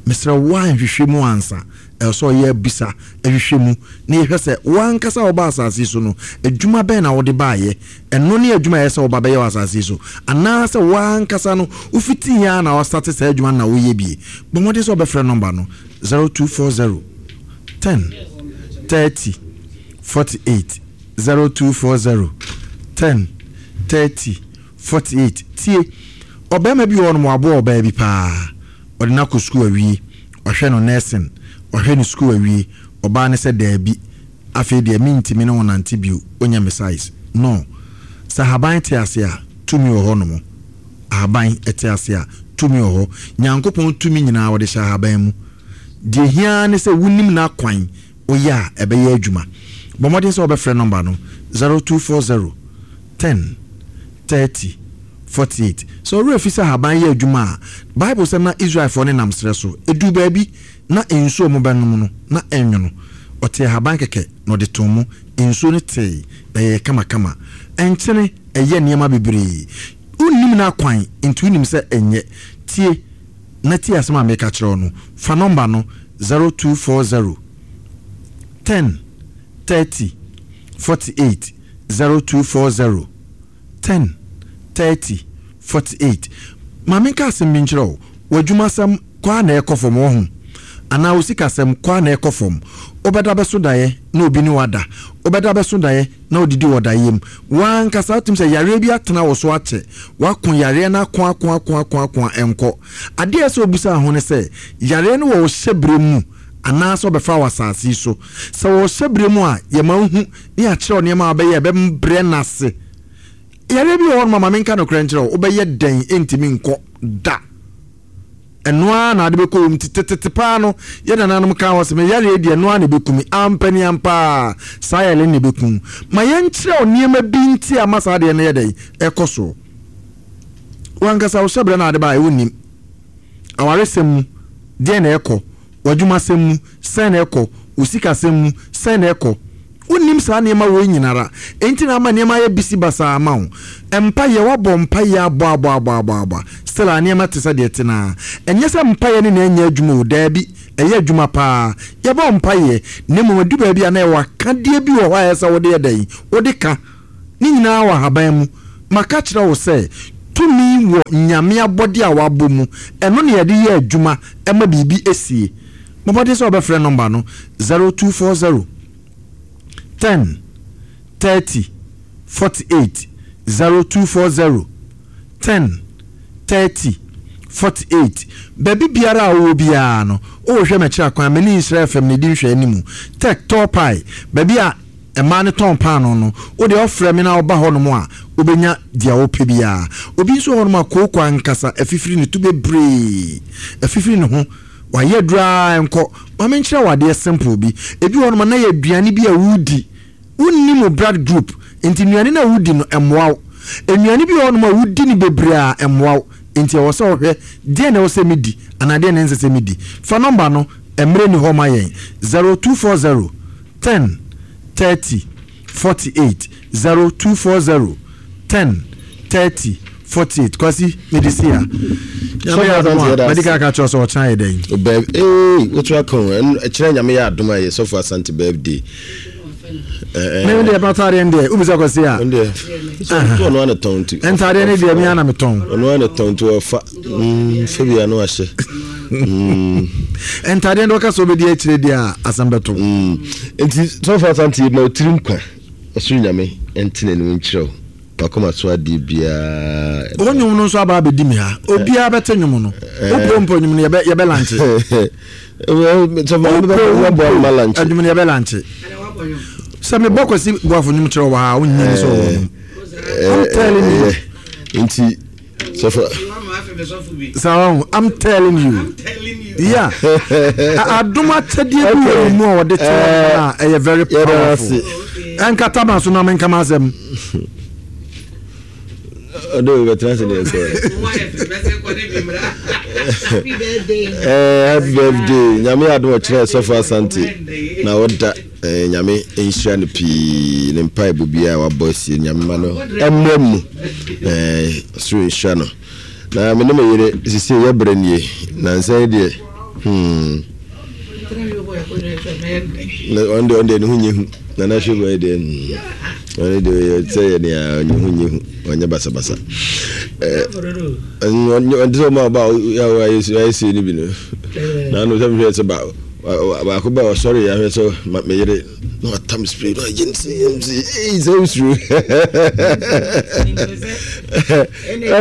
Mesrɛ wo a nhwehwɛ mu ansa. Ɛwɔ sɛ ɔyɛ abisa ahwehwɛ mu na yɛhwɛ sɛ wo ankasa a wɔba asase yi so no, adwuma bɛn na wode baayɛ. Ɛno ne adwuma a ɛyɛ sɛ woba bɛyɛ wɔ asase yi so, anaasɛ wo ankasa no wofitii a na wasate saa adwuma no na woyɛ bie. Bɔ mmɔden sɛ wobɛfrɛ nɔmba no zero two four zero ten thirty forty-eight, zero two four zero ten thirty forty-eight. Tie, ɔbarima bi wɔ hɔ nom, waboa ɔbaa bi paa, ɔde no akɔ sukuu awie, ɔhwɛ no nursing, ɔhwɛ no sukuu awie. Ɔbaa no sɛ daabi, afei deɛ mentimi ne wo nante bio, wonyɛ me size no. Sɛ ahaban te ase a, tumi wɔ hɔ nom. Ahaban te ase a, tumi wɔ hɔ. Nyankopɔn tumi nyinaa wɔde hyɛ ahaban mu. Deɛ hia ne sɛ wonim n'akwan, woyɛ a ɛbɛyɛ adwuma. Bɔ mmɔden sɛ wobɛfrɛ nɔmba no zero two four zero ten thirty forty-eight. Sɛ ɔwerɛ fi sɛ ahaban yɛ adwuma a, Bible sɛ na Israelfoɔ ne nam serɛ so, ɛduru baabi na nsuo a wɔbɛnom no na ɛnwono. Ɔte ahaban kɛkɛ na ɔde too mu, nsuo no tee na ɛyɛ kamakama. Ɛnkyene ɛyɛ nneɛma bebree. Wonnim n'akwan nti wonim sɛ ɛnyɛ. Tie na tie asɛm a meka kyerɛ wo no. Fa nɔmba no zero two four zero ten thirty forty-eight, zero two four zero ten thirty forty-eight. Maame, nka asɛm bi nkyerɛ wo. W'adwumasɛm kɔ a na ɛkɔ fam wɔ ho, anaa wo sikasɛm kɔ a na ɛkɔ fam. Wobɛda bɛso daeɛ na obi ne wada, wobɛda bɛso daeɛ na odidi wɔ daeɛ mu. Wankasa wotum sɛ yareɛ bi atena wo so akyɛ, wako yareɛ no ako ako ako ako ako a ɛnkɔ. Adeɛ a ɛsɛ obusa ho ne sɛ yareɛ no wɔ wo hyɛberɛ mu anaasɛ ɔbɛfa wɔ asase yi so. Sɛ wɔ hyɛberɛ mu a, yɛma wohu ne yɛakyerɛ wo nneɛma a wobɛyɛ ɛbɛbrɛ no ase. Yareɛ bi wɔ hɔ nom a, ma menka nokorɛ nkyerɛ wo, wobɛyɛ dɛn ɛntumi nkɔ da. Ɛno ara na ade bɛkɔ wɔ mu. Tetetete paa no, yɛ nananom ka hɔ sɛ meyareɛ deɛ, ɛno ara na ɛbɛku me. Ampani ampaa saa yare no na ɛbɛku. Ma yɛnkyerɛ wo nneɛma bi nti a ma saa adeɛ no yɛ dɛn ɛkɔ so. Wankasa wo hyɛberɛ no ade baa ɛwɔ awaresɛm mu, deɛ na ɛkɔ w'adwumasɛm mu, sɛn na ɛkɔ wo sikasɛm mu, sɛn na ɛkɔ. Wonnim saa nneɛma wei nyinara, enti na ama nneɛma ayɛ bisi basaa ama wo. Mpayɛ, wabɔ mpayɛ abɔ abɔ abɔ abɔ abɔ, still a nneɛma te sɛ deɛ te naa. Ɛnyɛ sɛ mpayɛ ne na ɛnyɛ adwuma o, daabi. Ɛyɛ adwuma paa. Yɛbɔ mpaeɛ na mmom adu baabi a na ɛwɔ akadeɛ bi wɔ hɔ a ɛsɛ sɛ wode yɛ dɛn, wode ka ne nyinaa wɔ ahaban mu. Maka kyerɛ wo sɛ tumi wɔ Nyame abɔde a wabɔ mu, ɛno na yɛde yɛ adwuma ɛma biribi esie. Mɔbɔde sɛ wɔbɛfrɛ nɔmba no zero two four zero ten thirty forty eight zero two four zero ten thirty forty eight. Baabi biara a wowɔ biara no, wohwɛ m'akyiri akwan, mene Nhyira F M na ɛdi nhwɛ anim. Tech Tɔ Pie, baabi a mmaa no tɔn paano no, wode ɔfrɛ me na woba hɔnom a wobɛnya deɛ wopɛ biara. Obi nso wɔ hɔnom a kooko ankasa afifiri ne to bebree, afifiri ne ho, wayɛ duraa nkɔ. Ma menkyerɛ wo adeɛ simple bi. Ebi wɔ hɔnom a na yɛ aduane bi a wodi, wonni mo blood group, nti nnuane no a wodi no ɛmmoa wo. Nnuane bi wɔ hɔnom a wodi no bebree a ɛmmoa wo, nti ɛwɔ sɛ wohwɛ deɛ na ɛwɔ sɛ medi anaa deɛ na ɛnsɛ sɛ medi. Fa nɔmba no, mmerɛ ni hɔ ma yɛn zero two four zero ten thirty forty eight zero two four zero ten thirty forty eight. Kwasi mede si a Nyame yɛ adom a madi ka ka kyerɛ sɛ ɔkyena yɛ dɛn. Bɛb ee wotu aka o ɛkyerɛ Nyame yɛ adom a yɛ Sɔfo Asante birthday. Me deɛ patadeɛ no deɛ wobisa Kwasi a ɔno ana tɔn nti ntadeɛ no deɛ me ana metɔn. Ɔno ana tɔn nti ɔfa fa bia no ahyɛ ntadeɛ no ɔka sɛ wobɛdi akyire deɛ a asɛm bɛto. Nti Sɔfo Asante ma ɔtiri nkwa ɔsoro Nyame ɛnte n'anim nkyerɛ wo wakoma so adeɛ biara. Wo nnwom no nso aba abɛdi me ha, obiara bɛte nnwom no. Wopɛ mpo nnwom no yɛbɛ lankye. Nnwom no yɛbɛ lankye. Sɛ mebɔ Kwasi Boafo nnwom kyerɛ wɔ ha a wonyini sɛ ɔwɔ nom. I'm telling you. Nti sɔfo Sawa, I'm telling you. Yeah. Adom akyɛdeɛ bi wɔ mu a wɔde kyerɛ a ɛyɛ very powerful. Ɛnkata ma so na menka ma asɛm. Ɔde wo bɛtena ase deɛ kɔ. Happy birthday. Nyame adom ɔkyerɛ Sɔfo Asante na ɔda Nyame nhyira no pii ne mpaebɔ biara wabɔ asie Nyame ma no ɛmmra mu. Soro nhyira no. Na me ne me yere sisi yɛ brɛ nie na nsa yi deɛ hmm. Na ɔno deɛ ɔno deɛ ne ho nyɛ hu. Na na hwɛ bɔ deɛ hmm. Ɔno deɛ ɔyɛ sɛ yɛ nea ɔnyɛ ho nyɛ hu, ɔnyɛ basabasa. Ɛɛ ɔnte sɛ ɔma ɔba a ayɛ sie no bi no. Na ano sɛ mehwɛ sɛ ba baako ba ɔsɔre yɛ ahwɛ sɛ me yere na watam spray na ɔyɛ nse yɛ nse ee sɛ osuro.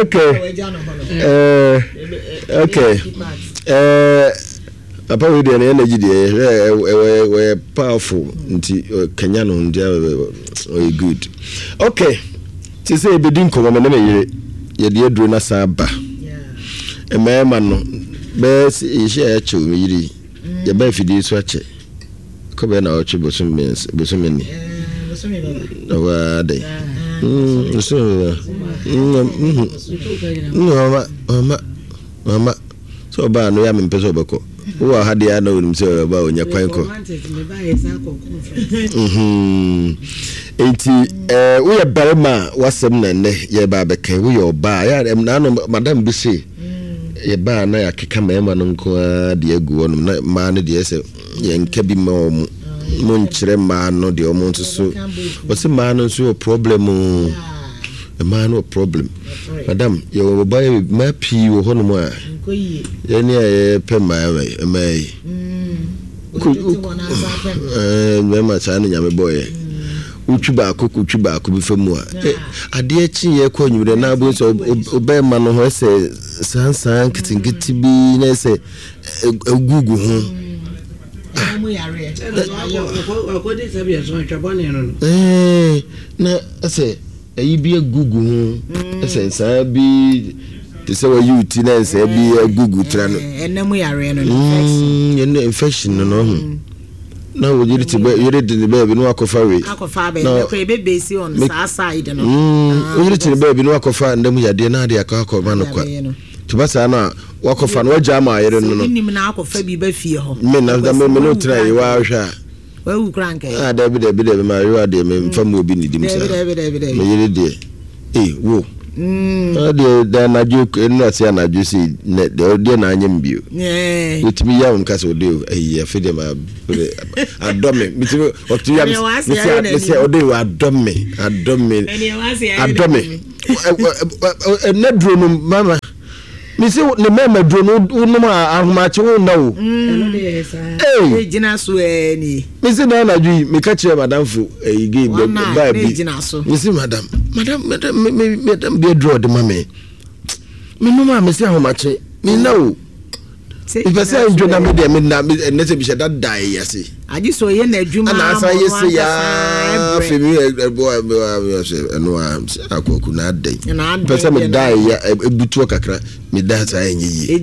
Okay. Uh, okay. Uh, papa wei deɛ ne energy deɛ ɛwɔ ɛwɔ powerful nti kanya no nti ɔyɛ good. Okay. Te sɛ ebedi nkɔmɔ me ne me yere yɛde aduro na san ba. Mmarima no bɛyɛ sɛ yɛhyɛ ɛkyɛw me yere yɛba afidie so akyɛ. Kɔ bɛyɛ na ɔtwe bosom mmiɛnsa bosome ni. Na waa dɛ. Mm bosome bɛba. Mm mm mama mama mama sɛ ɔbaa no yɛ a mempɛ sɛ ɔbɛkɔ. Wowɔ ha deɛ a na onim sɛ ɔba a ɔnya kwan kɔ. Nti eh, woyɛ barima a wasɛm na nnɛ yɛba abɛka, woyɛ ɔbaa yɛ naano madam bi se yɛbaa na yɛakeka mmarima no nko ara deɛ agu hɔnom na mmaa no deɛ sɛ yɛnka bi ma wɔn, monkyerɛ mmaa no deɛ wɔn nso so wɔse mmaa no nso wɔ problem o, mmaa no wɔ problem. Madam, yɛwɔ ɔbaa yɛ mmaa pii wɔ hɔnom a yɛne a yɛpɛ mmaa mmaa yi mmarima saa na Nyame bɔɔyɛ. Wotwi baako kotwi baako bi fa mu a, adeɛ kye yɛ kɔ anwummerɛ na abom sɛ ɔbɛrima no ho ɛsɛ sansan nketenkete bi na ɛsɛ egugu ho. Na ɛsɛ ɛyi bi agugu ho, ɛsɛ nsaa bi te sɛ wayi wo ti na nsaa bi agugu tira no. Ɛnna mu yareɛ no infection. Ɛnna infection no no ho. Na wo yere te bɛ yere de ne baabi na wakɔfa wei. Akɔfa abɛ na kɔ ebe besi on saa side no. Wo yere te ne baabi na wakɔfa nna mu yadeɛ na ade akɔ akɔma no kwa. Te ba saa na wakɔfa no wagya ama ayere no no. Nim na akɔfa bi ba fie hɔ. Me na me me no tena yi wa hwɛ a. Wawu kura nkɛ. Ah dabi dabi dabi ma yewa deɛ me mfa mu obi ne dim saa. Dabi dabi dabi. Me yere deɛ. Eh wo. Ɔdeɛ da anadwo ɛnu ase anadwo si nɛ deɛ ɔdeɛ na anyɛ mbio. Wotumi yɛ wɔn kasa ɔde ɛyi afi deɛ ma adɔ me mitumi ɔtumi yɛ mesi mesi ɔde adɔ me adɔ me adɔ me ɛnɛ duro no mama mesi ne mɛma duro no wonom a ahomakye wo nna o. Ee gyina so ɛɛ ni. Mesi na anadwo yi meka kyerɛ madamfo ɛyi gay baa bi mesi madam madam madam me me madam bi aduro ɔde ma me menom a mesi ahomakye me nna o. Mepɛ sɛ ndwo na me deɛ me nna ɛnɛ sɛ bihyɛ dada ɛyɛ ase. Agye sɛ ɔyɛ n'adwuma ana asan yɛ se yaa afei mi ɛbɔ ɛno a akɔku na adɛn pɛ sɛ meda ɛyɛ ebutuo kakra meda saa ɛnyɛ yie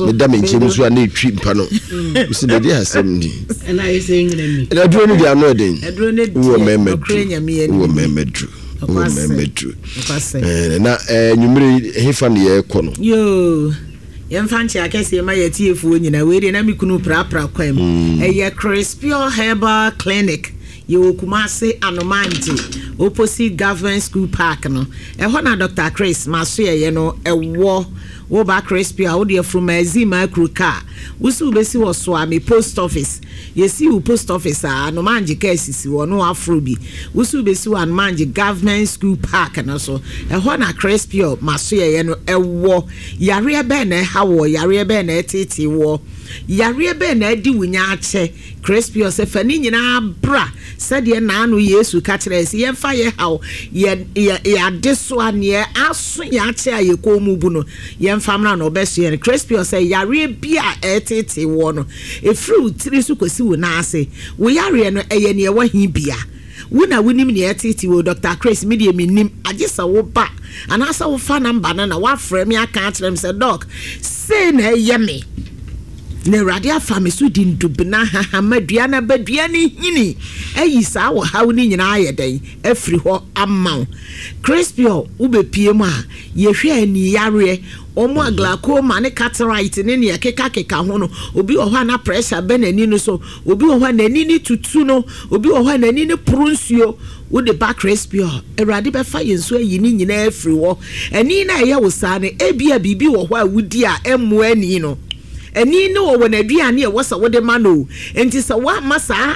meda me nkyɛn mu so a na etwi mpa no mesi de de asɛm ni ɛna aduro no deɛ ano ɛden wɔ mɛmɛ duru wɔ mɛmɛ duru wɔ mɛmɛ duru na ɛnwumire hefa ne yɛ kɔ no. Yoo. Yɛmfa nkyɛ akɛseɛ ma yɛtiefoɔ nyinaa. Wei deɛ na me kunu prapra kwan mu. Ɛyɛ Crispure Herbal Clinic. Yɛwɔ Kumase Anomante opposite Government School Park no. Ɛhɔ na Doctor Chris masoɛyɛ no ɛwɔ. Woba Crispure a wode afuruma ma akuru kaa. Wosi wobɛsi wɔ Soame post office. Yɛsi wo post office a Anomante kaa sisi wɔ no afro bi. Wosi wobɛsi wɔ Anomante Government School Park no so. Ɛhɔ na Crispure masoɛyɛ no ɛwɔ. Yareɛ bɛn na ɛha wɔ, yareɛ bɛn na ɛtete wɔ, yareɛ bɛn na ɛdi wo nya akyɛ. Crispure sɛ fa ne nyinaa bra sɛdeɛ naano Yesu ka kyerɛ sɛ yɛmfa yɛ haw yɛ yɛ yɛade so a neɛ aso yɛ akyɛ a yɛkɔn mu bu no yɛmfa mmra na ɔbɛso yɛn. Crispure sɛ yareɛ bi a ɛtete wɔ no ɛfiri wo tiri so kɔsi wo nan ase wo yareɛ no ɛyɛ neɛ ɛwɔ he bia. Wo na wonim neɛ ɛtete wɔ Doctor Chris me deɛ mennim agye sɛ wo ba anaasɛ wofa namba no na woafrɛ me aka akyerɛ me sɛ doc sei na ɛyɛ me na Awurade afa me so di ndubena hahama dua na badua ne hini ayi saa wɔ haw ne nyinaa ayɛ dɛn afiri hɔ ama wo. Crispure wobɛpie mu a yɛhwɛ ani yareɛ ɔmo a glaucoma ne cataract ne nea keka keka ho no obi wɔ hɔ a na pressure bɛ n'ani no so obi wɔ hɔ a n'ani ne tutu no obi wɔ hɔ a n'ani ne poro nsuo wode ba Crispure Awurade bɛfa yɛn so ayi ne nyinaa afiri hɔ. Ani na ɛyɛ wo saa no ebia biribi wɔ hɔ a wodi a ɛmmoa ani no. Ani ne wɔ wɔ n'aduane a ɛwɔ sɛ wode ma no nti sɛ woamma saa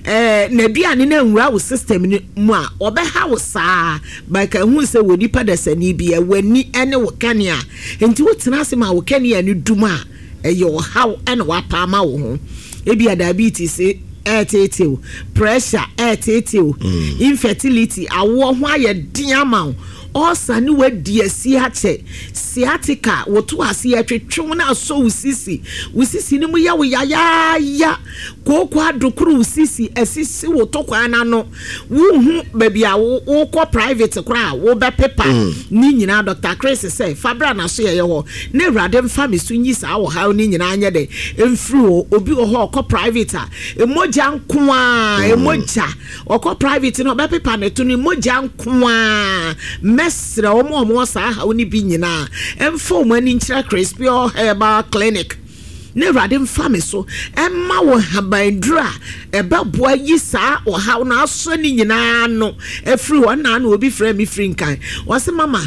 ɛɛ n'aduane no anwura wo system no mu a ɔbɛha wo saa baka hu sɛ wɔ nipa dasani bi w'ani ne wo kanea nti wotena ase ma wo kanea no dum a ɛyɛ ɔhaw ɛna wapa ama wo ho. Ebia diabetes ɛɛteetew pressure ɛɛteetew infertility awoɔ ho ayɛ den ama wo ɔsa ne wadi asi akyɛ sciatica woto ase ɛtwetwe na asɔ wo sisi wo sisi ne mu yɛ wo yayaaya kooko adokoro wo sisi asisi wo to kwan n'ano wohu baabi a wokɔ private koraa wobɛpepa ne nyinaa Doctor Chris sɛ fabra na so yɛyɛ hɔ na Awurade mfa me so nyi saa wɔ haw ne nyinaa nyɛ dɛ mfiri hɔ. Obi wɔ hɔ ɔkɔ private a emogya nko a emogya ɔkɔ private no ɔbɛpepa ne to no emogya nko a mɛsrɛ wɔn a wɔwɔ saa haw ne bi nyinaa ɛmfa wɔn ani nkyerɛ Crispure Herbal Clinic na Awurade mfa me so ɛma wɔ habanduru a ɛbɛboa yi saa ɔhaw no asɔ ne nyinaa no afiri hɔ. Nna na obi frɛ me firi nkan wɔse mama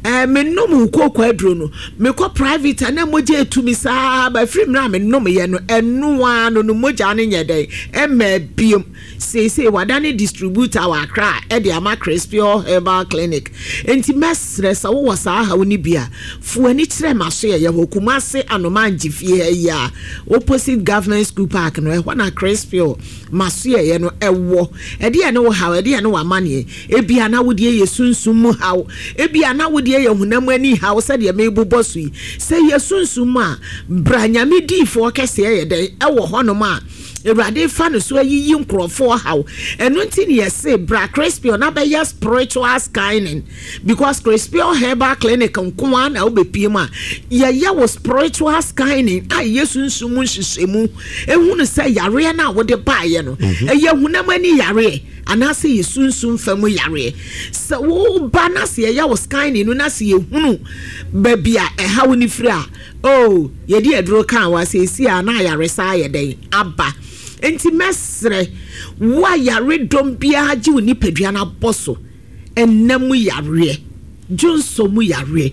ɛɛ menom kooko aduro no mekɔ private a na mogya etumi saa ba firi mmerɛ a menom yɛ no ɛnoa no no mogya no nyɛ dɛn ɛmma biom. Seesei wadane distributor wɔ Accra ɛde ama Crispure Herbal Clinic nti mɛsrɛ sɛ wowɔ saa haw no bi a fo ani kyerɛ ma so yɛyɛ hɔ Kumase Anomangye fie ha yi a opposite Government School Park no ɛhɔ na Crispure ma so yɛyɛ no ɛwɔ. Ɛdeɛ ne wo haw ɛdeɛ ne w'amanneɛ ebia na wodeɛ yɛ sunsum mu haw ebia na wodeɛ yɛ honam ani haw sɛdeɛ mebobɔ so yi sɛ yɛ sunsum mu a bra Nyame diifoɔ kɛseɛ yɛ dɛn ɛwɔ hɔnom a Awurade fa no so ayiyi nkurɔfoɔ haw. Ɛno nti ne yɛse bra Crispure na bɛyɛ spiritual scanning because Crispure Herbal Clinic nko ara na wobɛpie mu a yɛyɛ wo spiritual scanning a yɛ sunsum mu nhyehyɛmu ehunu sɛ yareɛ no a wode baeɛ no ɛyɛ honam ani yareɛ anaasɛ yɛ sunsum fam yareɛ. Sɛ woba na sɛ yɛyɛ wo scanning no na sɛ yɛhunu baabi a ɛhaw ne firi a oh yɛde aduro kaa wa seesi a na ayaresa ayɛ dɛn aba. Nti mɛsrɛ wo a yaredɔm biara gye wo nipadua no abɔ so ɛnam yareɛ Dwonsɔ mu yareɛ.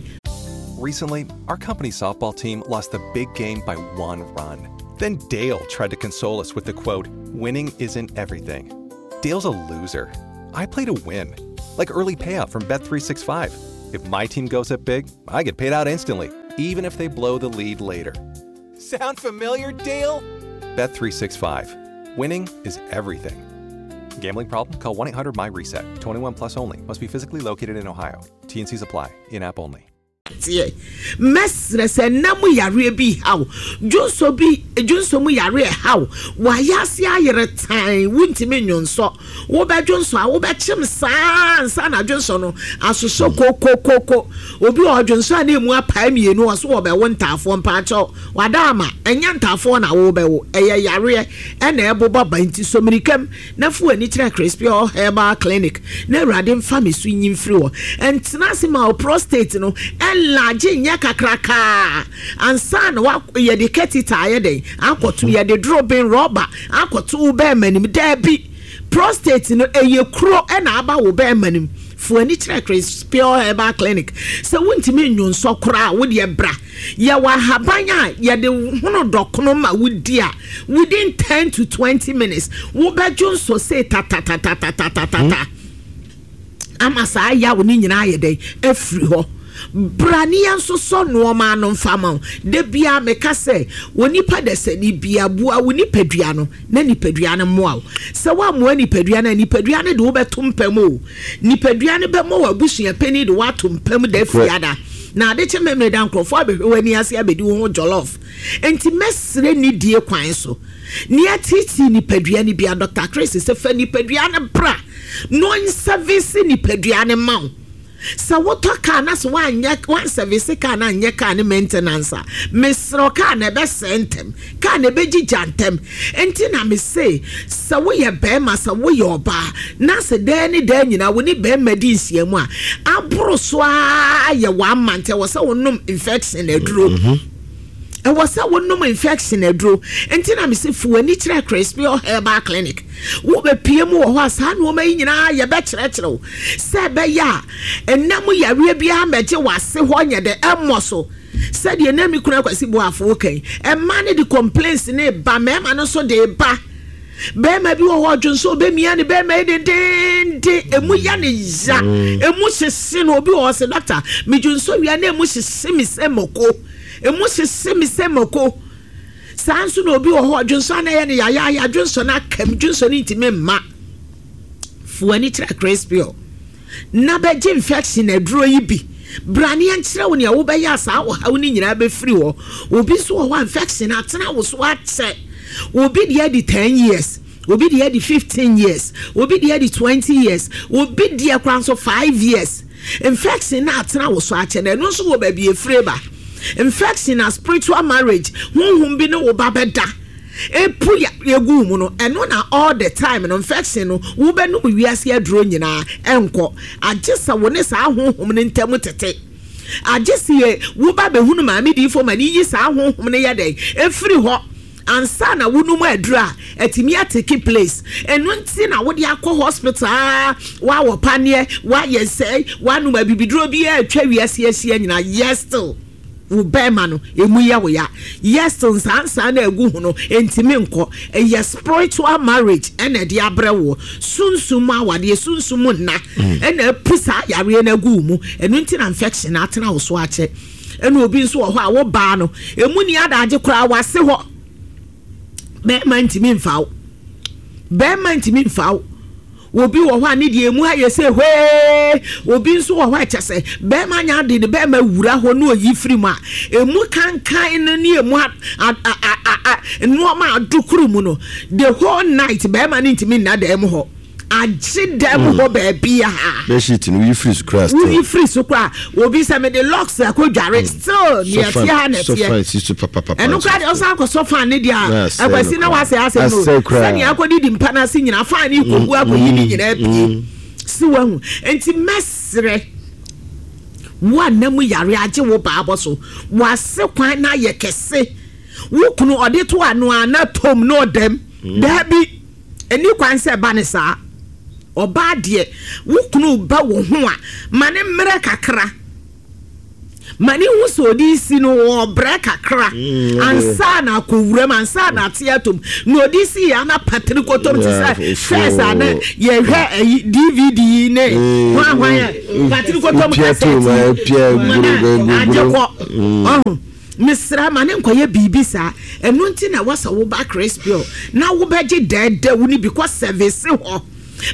Recently, our company softball team lost the big game by one run. Then Dale tried to console us with the quote, "Winning isn't everything." Dale's a loser. I play to win, like early payout from Bet three sixty-five. If my team goes up big, I get paid out instantly, even if they blow the lead later. Sound familiar, Dale? Bet three sixty-five. Winning is everything. Gambling problem? Call one eight hundred M Y reset. twenty-one plus only. Must be physically located in Ohio. T and Cs apply. In-app only. Mesrɛ sɛ nna mu yareɛ bi haw, dwonso bi, dwonso mu yareɛ haw, wayɛ ase ayere tan, wuntumi nwonsɔ, wobɛdwonso a wobɛkyem saa ansa na dwonso no asosɔ kokokoko. Obi wɔ dwonso a na emu apae mmienu, ɔso wɔbɛwo ntaafoɔ. Mpaakyɛw, wada ama ɛnyɛ ntaafoɔ na wɔbɛwo, ɛyɛ yareɛ ɛna ɛbobɔ ba. Nti somirikam na fo ani kyerɛ Crispy Herbal Clinic na Awurade mfa me so nyi mfiri hɔ. Ɛntena ase ma wo prostate no ɛnlagye nyɛ kakrakaa ansa na wa yɛde catheter ayɛ dɛn akɔto, yɛde drobin rɔba akɔto wo bɛrima nim. Daabi, prostate no ɛyɛ kuro ɛna aba wo bɛrima nim. Fo ani kyerɛ Crispy Herbal Clinic. Sɛ wontumi nwonsɔ koraa, wodeɛ bra. Yɛwɔ ahaban a yɛde hono dɔkono ma wodi a, within ten to twenty minutes wobɛdwo nso se tatatatatatatatata ama saa yawo ne nyinaa yɛ dɛn afiri hɔ. Bra ne yɛn nso sɔ nneɛma ano mfa ma wo. Da bia meka sɛ wɔ nipa dasani bia, boa wo nipadua no na nipadua no mmoa wo. Sɛ woammoa nipadua no a, nipadua no de wobɛto mpam o. Nipadua no bɛmmɔ wɔ abusua panyin de woato mpam da fiada na ade kyɛ mmɛmmerɛ da nkurɔfoɔ abɛhwɛ w'ani ase abɛdi wo ho jollof. Nti mɛsrɛ nidie kwan so nea titi nipadua no bia, Doctor Chris sɛ fa nipadua no bra na ɔnservice nipadua no ma wo. Sɛ wotɔ kaa na sɛ woanyɛ woanservice kaa na anyɛ kaa ne maintenance a, mesrɛ, kaa na ɛbɛsɛe ntɛm, kaa na ɛbɛgyigya ntɛm. Nti na mese sɛ woyɛ bɛrima, sɛ woyɛ ɔbaa na sɛ daa ne daa nyinaa wo ne bɛrima di nhyiamu a aboro so a yɛ one month, ɛwɔ sɛ wonom infection aduro, ɛwɔ sɛ wonom infection aduro. Nti na mese fo w'ani kyerɛ Crispy Herbal Clinic. Wobɛpie mu wɔ hɔ a, saa nneɛma yi nyinaa yɛbɛkyerɛkyerɛ wo sɛ ɛbɛyɛ a ɛnam yareɛ biara mɛgye w'ase hɔ nyɛ dɛ ɛmmɔ so. Sɛdeɛ na mi kunu Akwasi Boafo kan, ɛma ne de complaints ne ba, mmarima no nso de ba. Bɛrima bi wɔ hɔ, ɔdwo nso ɔbɛmia ne bɛrima yi dendenden, emu yɛ ne ya, emu hyehye no. Obi wɔ hɔ sɛ, "Doctor, medwo nso wia na emu hyehye mi sɛ mako, emu hyehye mi sɛ mako." Saa nso na obi wɔ hɔ, ɔdwo nso ana yɛ ne yayaaya, dwo no akam, dwo no ntumi mma. Fo ani kyerɛ Crispy na bɛgye infection aduro yi bi. Bra ne yɛnkyerɛ wo nea wobɛyɛ a saa ɔhaw no nyinaa bɛfiri hɔ. Obi nso wɔ hɔ a, infection atena wo so akyɛ. Obi deɛ adi ten years, obi deɛ adi fifteen years, obi deɛ adi twenty years, obi deɛ koraa nso five years. Infection na atena wo so akyɛ na ɛno nso wɔ baabi efire ba. Infection na spiritual marriage, honhom bi ne wo ba bɛda epu ya egu mu no, ɛno na all the time no infection no wobɛnum wiase aduro nyinaa ɛnkɔ, agye sɛ wo ne saa honhom no ntam tete, agye sɛ yɛ woba bɛhunu maame diifo ma ne yi saa honhom no yɛ dɛn efiri hɔ ansa na wonum aduro a ɛtumi atake place. Ɛno nti na wode akɔ hospital a woawɔ paneɛ, woayɛ sɛe, woanom abibiduro bi a atwa wiase ahyia nyinaa, yes, still wo bɛrima no emu yɛ wo ya, yes, still nsansan na egu ho no ntumi nkɔ. Ɛyɛ spiritual marriage ɛna ɛde abrɛ wɔ sunsun mu awadeɛ, sunsun mu nna ɛna epu saa yareɛ no agu wo mu. Ɛno nti na infection atena wo so akyɛ. Ɛna obi nso wɔ hɔ a, wo baa no emu ni adagye koraa wase hɔ, bɛrima ntumi nfa wo, bɛrima ntumi nfa wo. Obi wɔ hɔ a ne deɛ emu ayɛ sɛ hwee. Obi nso wɔ hɔ a, kyɛ sɛ bɛrima nya ade ne bɛrima wura hɔ ne oyi firi mu a, emu kankan no ne emu a a a a a nneɛma adokoro mu no, the whole night bɛrima ne ntumi nna dan mu hɔ, agye dan mu hɔ baabi a Bedsheet no, woyi firi so koraa, still. Woyi firi so koraa, obi sɛ mede locks akɔ dware, still nea ɛteɛ ha na ɛteɛ. Sɔfan si so papapapa. Ɛno koraa deɛ, ɔsan akɔsɔ fan ne deɛ Na a asɛe Akwasi no na koraa. wasɛ asɛm no. Asɛe koraa. Sɛnea akɔdidi mpa no ase nyinaa, fan ne kɔgu akɔyi ne nyinaa pie si wahu. Nti mɛserɛ wo a nam yare agye wo baabɔ so, wase kwan na ayɛ kɛse, wo kunu ɔde to ano a na tom na ɔdam, daabi, ɛni kwan sɛ ɛba ne saa. Ɔbaa deɛ, wo kunu ba wo ho a, ma ne mmerɛ kakra. Ma ne hu sɛ ɔde si no ɔbrɛ kakra Mm, ansa na akɔwura mu, ansa na ate atom na ɔde si yɛ ana patiri kɔtɔm te Yeah, sɛ fufuo. fɛs a na yɛhwɛ ayi D V D yi ne Mm, hwan hwan a patiri kɔtɔm Wopia tom, cassette eh, pia yi ma na guru, guru, agye guru. kɔ ɔho. Mesrɛ, ma ne nkɔyɛ biribi saa. Ɛno nti na wɔsɛ woba Crispio na wobɛgye dɛɛdɛ wo no bi kɔ service hɔ.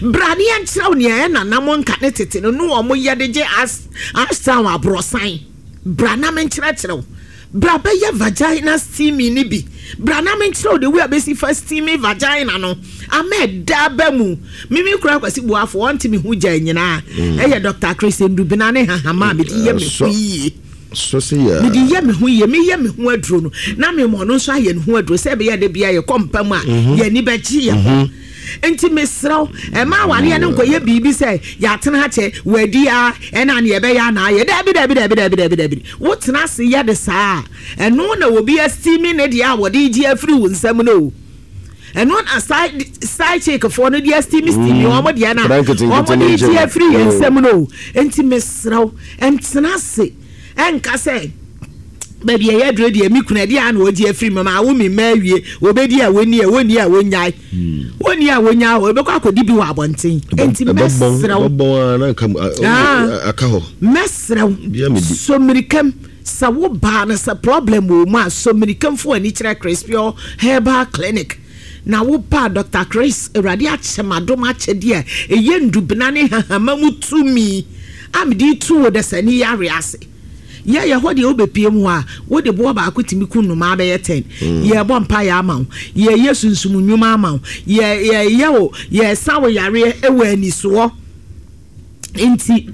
Bra ne yɛnkyerɛ wo nea ɛyɛ nanam nka ne tete no ne wɔn yɛ de gye as asan aborɔsan. Bra na menkyerɛkyerɛ wo. Bra bɛyɛ vagina steaming ne bi. Bra na menkyerɛ wo de wo a bɛsi fa steaming vagina no ama ɛda ba mu. Mimi kura Kwasi Buafo ɔnte me ho gya nyinaa ɛyɛ Doctor Chris Ndubina ne hahama a mede yɛ me ho yie. So se yɛ. Mede yɛ me ho yie. Meyɛ me ho aduro no na mema ɔno nso ayɛ ne ho aduro sɛ ɛbɛyɛ de bia yɛkɔ mpa mu a yɛni bɛgye yɛ ho. Nti mesrɛ wo, ɛma awareɛ no nkɔyɛ biribi sɛ yɛatena akyɛ wadi a ɛna ne yɛbɛyɛ anaa yɛ. Dabi, dabi, dabi, dabi, dabi, dabi. Wotena ase yɛ de saa a, ɛno na obi astimi ne deɛ a wɔde gye afiri wo nsam no o. Ɛno na side side chick foɔ no de astimi stimi wɔn deɛ no a Nkwadaa nketenkete wɔn ne de gye nkyɛn. afiri yɛn Mm. nsam no o. Nti mesrɛ wo, ɛntena ase ɛnka sɛ baabi a ɛyɛ aduro deɛ, mi kunu ɛdeɛ a na ɔgye afiri mu ma awo mi mma awie, obɛdi a wɔni a wɔni a wɔnyae, wɔni a wɔnyae hɔ, ebɛkɔ akɔdi bi wɔ abɔnten. Nti mɛsrɛ wo. Ɛbɛbɔn a na nka Ah. aka hɔ. Mɛsrɛ wo. Bia medi. Somirikam sɛ wo baa no sɛ problem wɔ mu a, somirikam fo ani kyerɛ Crispio Herbal Clinic na wo baa Doctor Chris, Awurade akyɛ m'adom akyɛdeɛ a ɛyɛ ndubena ne hahama mu tumi a mede tu wo dasani yare ase. Yɛyɛ hɔ deɛ, wobɛpie mu hɔ a, wode boɔ baako tumi ku nnomaa bɛyɛ ten. Yɛbɔ mpaeɛ ama wo, yɛyɛ sunsum nnwuma ama wo, yɛ- yɛyɛ wo, yɛsa wo yareɛ ɛwɔ anisoɔ. Nti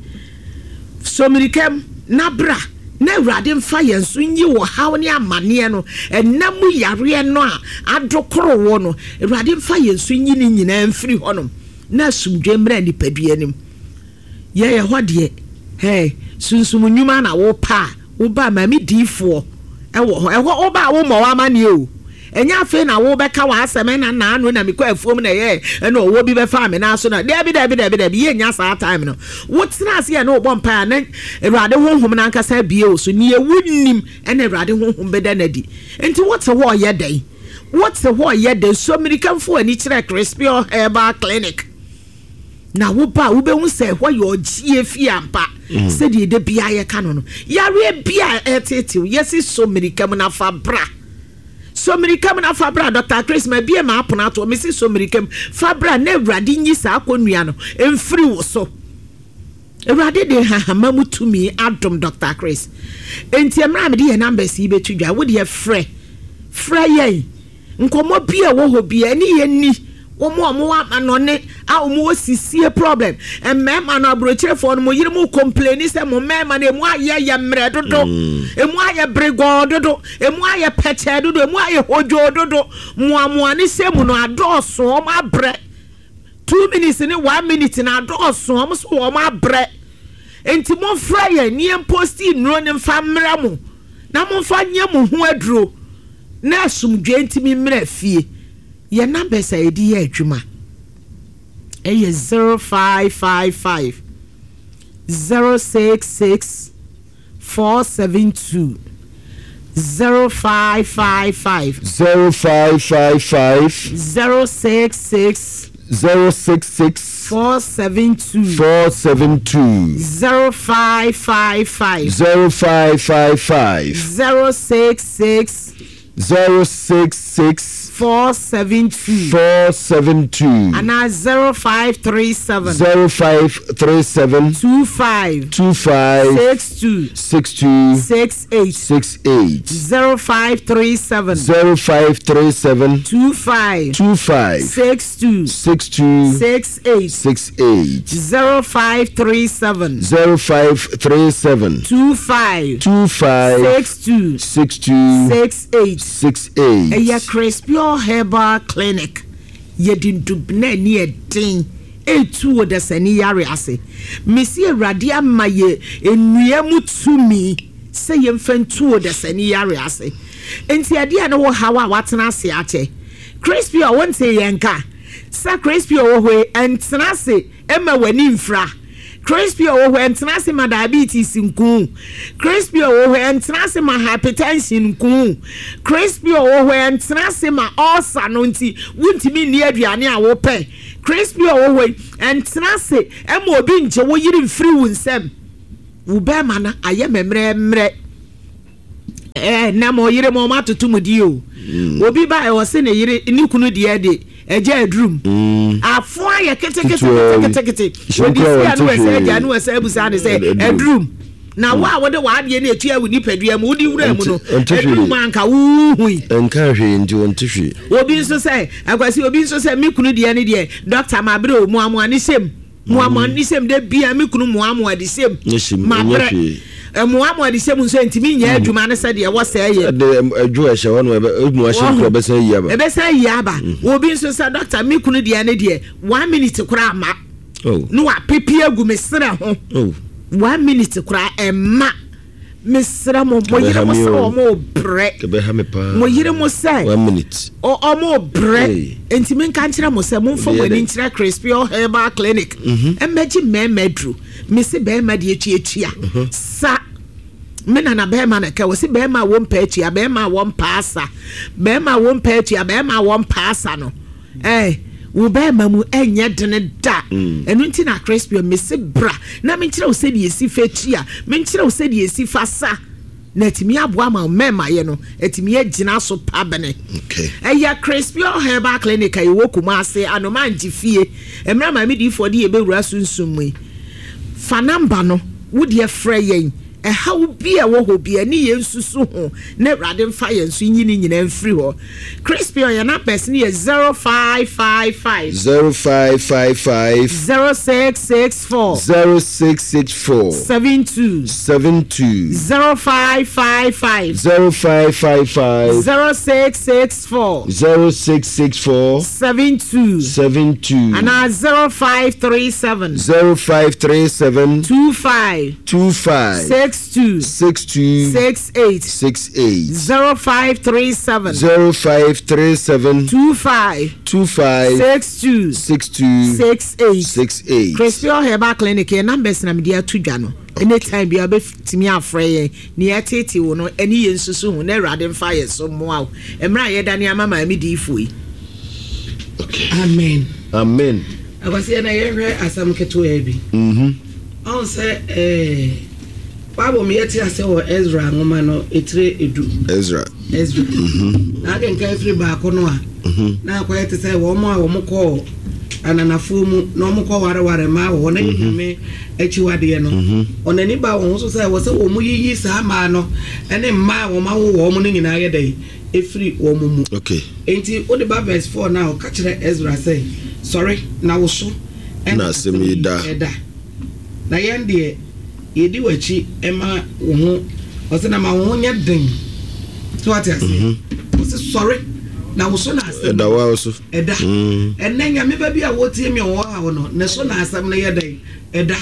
somirikam na bra na Awurade mfa yɛn so nyi wɔ haw ne amanneɛ no, ɛnam mu yareɛ no a adokoro wɔ no, Awurade mfa yɛn so nyi ne nyinaa mfiri hɔnom na asomdwe mmra nipadua anim. Yɛyɛ hɔ deɛ, hey, sunsum nnwuma na wopa a, woba maame diifoɔ ɛwɔ hɔ. Ɛhɔ woba a, wommɔ w'amanneɛ o. Ɛnyɛ afei na wobɛka w'asɛm ɛna naano na mekɔ afuom na ɛyɛ ɛna ɔwɔ bi bɛfa me naa so na dabi, dabi, dabi, dabi. Yɛnya saa time no, wotena ase yɛ ne wobɔ mpaeɛ a, na Awurade honhom no ankasa abie wo so neɛ wonim ɛna Awurade honhom bɛda no adi. Nti wote hɔ ɔyɛ dɛn? Wote hɔ ɔyɛ dɛn? So mmirika ani kyerɛ Crispio Herbal Clinic na woba a, wobɛhu sɛ ɛhɔ yɛ ɔgyeɛ fie ampa. Sɛdeɛ ɛda bia yɛka no no yareɛ bia ɛtetew yɛsi so mmirika mu na fa bra. So mmirika mu na fa bra. Doctor Chris ma bie ma apono ato mesi so mmirika mu fa bra na Awurade nyi saa akonnua no mfiri wo so. Awurade de hahama mu tumi adom Doctor Chris. Nti mmerɛ a mede yɛ numbers yi bɛtu dwa, wode frɛ frɛ yɛn. Nkɔmmɔ bi a ɛwɔ hɔ bi ɛne yɛn ni. Wɔn a wɔwɔ amanɔne a wɔwɔ sisie problem, mmarima no, aburokyerefoɔ no, mo yere mu complain sɛ mo mmarima no emu ayɛ yɛ mmerɛ dodo, emu ayɛ beregɔɔ dodo, emu ayɛ pɛkyɛɛ dodo, emu ayɛ hodwoo dodo, mmoamoa ne hyɛ mu no adɔɔso, wɔn abrɛ. Two minutes ne one minute na adɔɔso, wɔn so wɔn abrɛ. Nti momfrɛ yɛn ne yɛn post nnuro ne mfa mmerɛ mo na momfa nyɛ mo ho aduro na asomdwe ntumi mmerɛ fie. Yɛn numbers a yɛde yɛ adwuma ɛyɛ zero five five five zero six six four seven two, zero five five five zero five five five zero six six zero six six four seven two four seven two zero five five five zero five five five zero six six zero six six four seven two four seven two anaa zero five three seven zero five three seven two five two five six two six two six eight six eight zero five three seven zero five three seven two five two five six two six two six eight six eight zero five three seven zero five three seven two five two five six two six two six eight six eight. Ɛyɛ Crispio Herbal Clinic. Yɛde ndubena ani ɛden etu wɔ dasani yare ase. Mesi Awurade ama yɛ nnua mu tumi sɛ yɛmfa ntu wɔ dasani yare ase. Nti ɛdeɛ ne wɔ haw a watena ase akyɛ, Crispio, wonte yɛn ka sɛ Crispio wɔ hɔ yi, ɛntena ase. Ɛma w'ani mfra. Crispy wɔ hɔ, ɛntena ase ma diabetes nku. Crispy wɔ hɔ, ɛntena ase ma hypertension nku. Crispy wɔ hɔ, ɛntena ase ma ulcer no nti wontumi nni aduane a wopɛ. Crispy wɔ hɔ yi, ɛntena ase ɛma obi ngye wo yere mfiri wo nsam. Wo bɛrima no ayɛ mɛmmerɛmmerɛ. Ɛɛ nam ɔyere ma ɔmo atoto mu di o. Obi ba ɛwɔ se ne yere ne kunu deɛ de ɛgya adurum. Afo ayɛ keteketeketekete. Hyɛm Odi koraa si a no wɔnte ɛsɛ hwee. agya no ɛsɛ abusa ne sɛ adurum. Na wo a wode w'adeɛ no etua wo nipadua mu, wode wura mu no, Ɔnte- ɔnte hwee. adurum anka wohui. Ɛnka hwee nti wɔnte hwee. Obi nso sɛ akwasi, obi nso sɛ me kunu deɛ ne deɛ, doctor, ma bere o, muamoa ne hyɛm, muamoa ne hyɛm de bia me kunu muamoa de hyɛm. Ne hyɛm, ma ɛnyɛ brɛ hwee. Muamoa de hyɛm nso ntumi nyɛ adwuma ne sɛ deɛ ɛwɔ sɛ ɛyɛ. Ɛde ɛdwo ɛhyɛ hɔ no, ɛbɛ emu ahyɛ nkura bɛsɛn yi aba. Ɛbɛsɛn yi aba. Obi nso sɛ, doctor, me kunu deɛ ne deɛ, one minute koraa ma Oh. ne wapepe agu me serɛ ho. Oh. One minute koraa ɛma. Mesrɛ mo, mo yere mo sɛ ɔmo brɛ. Ɛbɛha me paa. Mo yere mo sɛ One minute. ɔ- ɔmo brɛ. Hey. Nti menka nkyerɛ mo sɛ momfa Obi mo yɛ ani dɛ. nkyerɛ Crispy Herbal Clinic, ɛmmɛgye mmarima aduru. Mese bɛrima deɛ tuatua sa me nana bɛrima na ka wɔ se bɛrima a wɔmpɛ atua, bɛrima a wɔmpa asa, bɛrima a wɔmpɛ atua, bɛrima a wɔmpa asa no, ɛɛ wo bɛrima mu ɛnyɛ dene da. Ɛno nti na Crispy, mese bra na menkyerɛ wo sɛdeɛ esi fa tua, menkyerɛ wo sɛdeɛ esi fa sa, na atumi aboa ma mmarima yɛ no atumi agyina so pa bene. Okay. Ɛyɛ Crispy Herbal Clinic a yɛwɔ Kumase, Anomangye fie. Mmerɛ maame diifoɔ de yɛbɛwura sunsum mu yi, fa number no, wodeɛ frɛ yɛn. Ɛhaw bi a ɛwɔ hɔ bi ɛne yɛn nsusu ho na Awurade mfa yɛn so nyi ne nyinaa mfiri hɔ. Crispy, ɔyɛ numbers no yɛ zero five five five Zero five five five zero six six four zero six six four seven two seven two zero five five five zero five five five zero six six four zero six six four seven two seven two anaa zero five three seven zero five three seven two five two five six two six two six eight six eight zero five three seven zero five three seven two five two five six two six two six eight. six eight. Crispy Herbal Clinic, yɛn numbers na mede ato dwa no. Anytime bi a wobɛtumi afrɛ yɛn ne yɛtete wo no, ɛne yɛn nsusu ho na Awurade mfa yɛn so mmoa wo. Mmerɛ a yɛda ne ama maame diifoɔ yi. Okay. Amen. Amen. Akwasi, na yɛhwɛ asɛm ketewa bi. Mm-hmm. Ɔn sɛ ɛɛ Bible mu yɛte ase wɔ Ezra nwoma no etire edu. Ezra. Ezra na akenkan firi baako no a, na akɔyɛ te sɛ wɔn a wɔn kɔɔ ananafoɔ mu na wɔn kɔ wareware mmaa wɔ hɔ na yɛ Nyame akyiwadeɛ no, ɔnani ba wɔn ho so sɛ wɔ sɛ wɔn yiyi saa mmaa no ɛne mmaa a wɔn awo wɔn no nyinaa yɛ dɛ efiri wɔn mu. Okay. Nti wode ba verse four na ɔka kyerɛ Ezra sɛ, sɔre na wo so Na asɛm yi da. Ɛda na yɛn deɛ yɛdi w'akyi ɛma wo ho. Ɔsɛ na ma wo ho nyɛ den so, wate aseɛ? Ɔsɛ sɔre na wo so na asɛm Ɛda wa so. Ɛda. Mm. Ɛnɛ Nyame ba bi a wɔtie mi a ɔwɔ ha no, ne so na asɛm no yɛ dɛn? Ɛda.